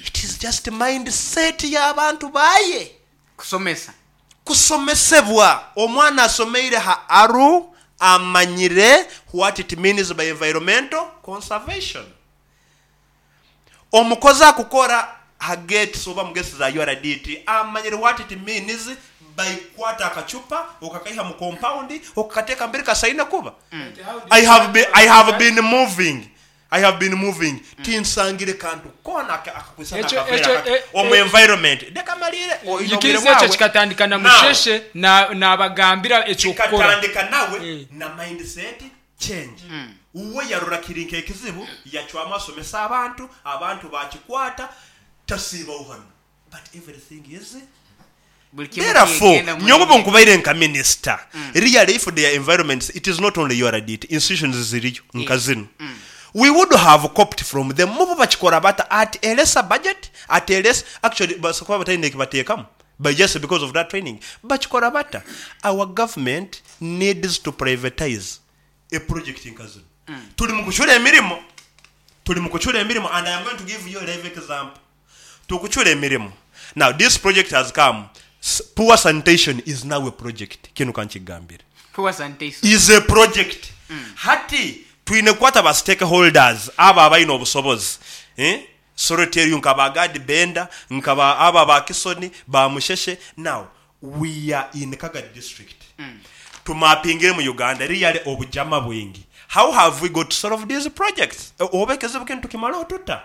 It is just mind set y'abantu baye. Kusomesa. Kusomesebwa. Omwana asomeire ha ARU amanyire what it means by environmental conservation. Omukozi akukora ha gates oba mu gates za URDT amanyire what it means by kukwata akacupa okakaiha mu compound okakateeka mberi kasaine kuba. I have been, I have been moving I have been moving tinsangire kantu koona akakwisana Ekyo akaveera ekyo kati e- omu e- environment. Leka maliire oine obwire Nyikiriza ekyo bwawe. kikatandika na Now, Musheshe na nabagambira eky'okukora. kikatandika nawe Eh. na mindset change. Uwe yarora kiri nk'ekizibu yacwamu asomesa abantu, abantu bakikwata tasiibaho hanu. But everything is Buli kimu Therefore, kigenda mu nyowe muringo. obunkubaire nka minisita, really if their environments, it is not only URDT, institutions ziriyo nka zinu. We would have copied from them. Mubo bakikora bata at a lesser budget, at a less, actually basobola kuba bataine ekibateekamu, but just because of that training. Bakikora bata? Our government needs to privatize a project nka zinu. Turi mukucura emirimo, turi mukucura emirimo and I am going to give you a live example. Tukucura emirimo. Now this project has come, poor sanitation is now a project. Kinu kankigambire. Poor sanitation. Is a project. Hati twine kukwata ba stakeholders abo abaine obusobozi. Eh? Sorry tell you nka ba Gad Benda, nka ba aba ba Kisoni, ba Musheshe. Now we are in Kagadi district. Tumapingire mu Uganda really obujama bwingi. How have we got to solve these projects? Oba ekizibu kinu tukimaleho tuta?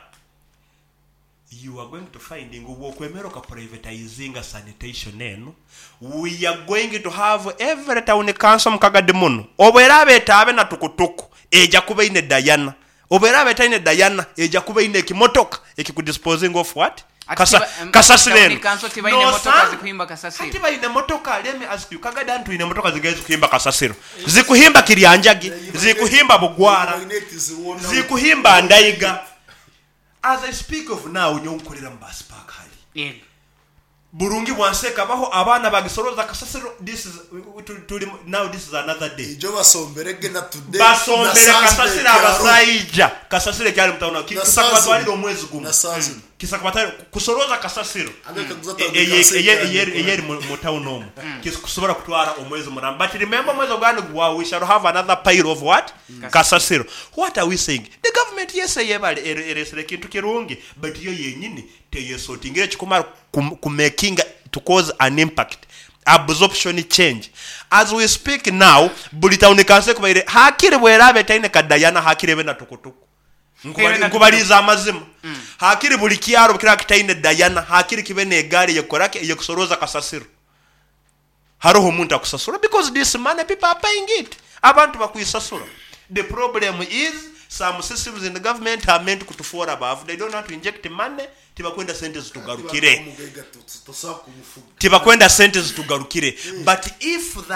You are going to find ngu bwokwemera okaprivatizinga sanitation enu, we are going to have every town council mu Kagadi munu, obu eraaba etaabe na tukutuku, eja kuba eine Diana, obu eraaba etaine Diana, eja kuba eine ekimotoka ekikudisposinga of what? Ati Kasa, kasasiro town enu. council tibaine motoka Nosanga zikuhimba kasasiro. hati baine motoka, let me ask you, Kagadi hanu twine motoka zingahi ezikuhimba kasasiro? Zikuhimba Kiryanjagi, zikuhimba Bugwara, zikuhimba Ndaiga. As I speak of now, nyowe nkorera mu bus park hari. Yego. Burungi bwansi ekabaho, abaana bagisoroza kasasiro, this is, turi, now this is another day. Ijo basombere ge na today, Basombere na kasasiro Saturday kyaro. abasaija. Kasasiro ekyari mu town, Na kisa Saturday. kubatwarira omwezi gumu. Na Saturday. Kisa kubatwarira, kusoroza kasasiro. Anga kaguza tawuni kasasiro kyari Eyeri mu town omu. Kisa kusobora kutwara omwezi muramba. But remember omwezi ogwani gwa, we shall have another pile of what? Kasasiro. What are we saying? The government yes eyebale eresere ekintu kirungi, but yo yenyini teyesortingire ekikumara kumakinga to cause an impact. Absorption change. As we speak now, buli town council ekubaire hakiri bweraaba etaine ka Diana hakiri ebe na tukutuku. Nkubaliize amazima. Hakiri buli kyaro bwekiraaba kitaine Diana hakiri kibe n'egaari eyekukoraki eyekusorooza kasasiro. Haroho omuntu akusasura because this money people are paying it. Abantu bakwisasura. The problem is some systems in the government are meant kutufoora baavu. They don't want to inject money, tibakwenda sente zitugarukire. Tibakwenda sente zitugarukire. But if that.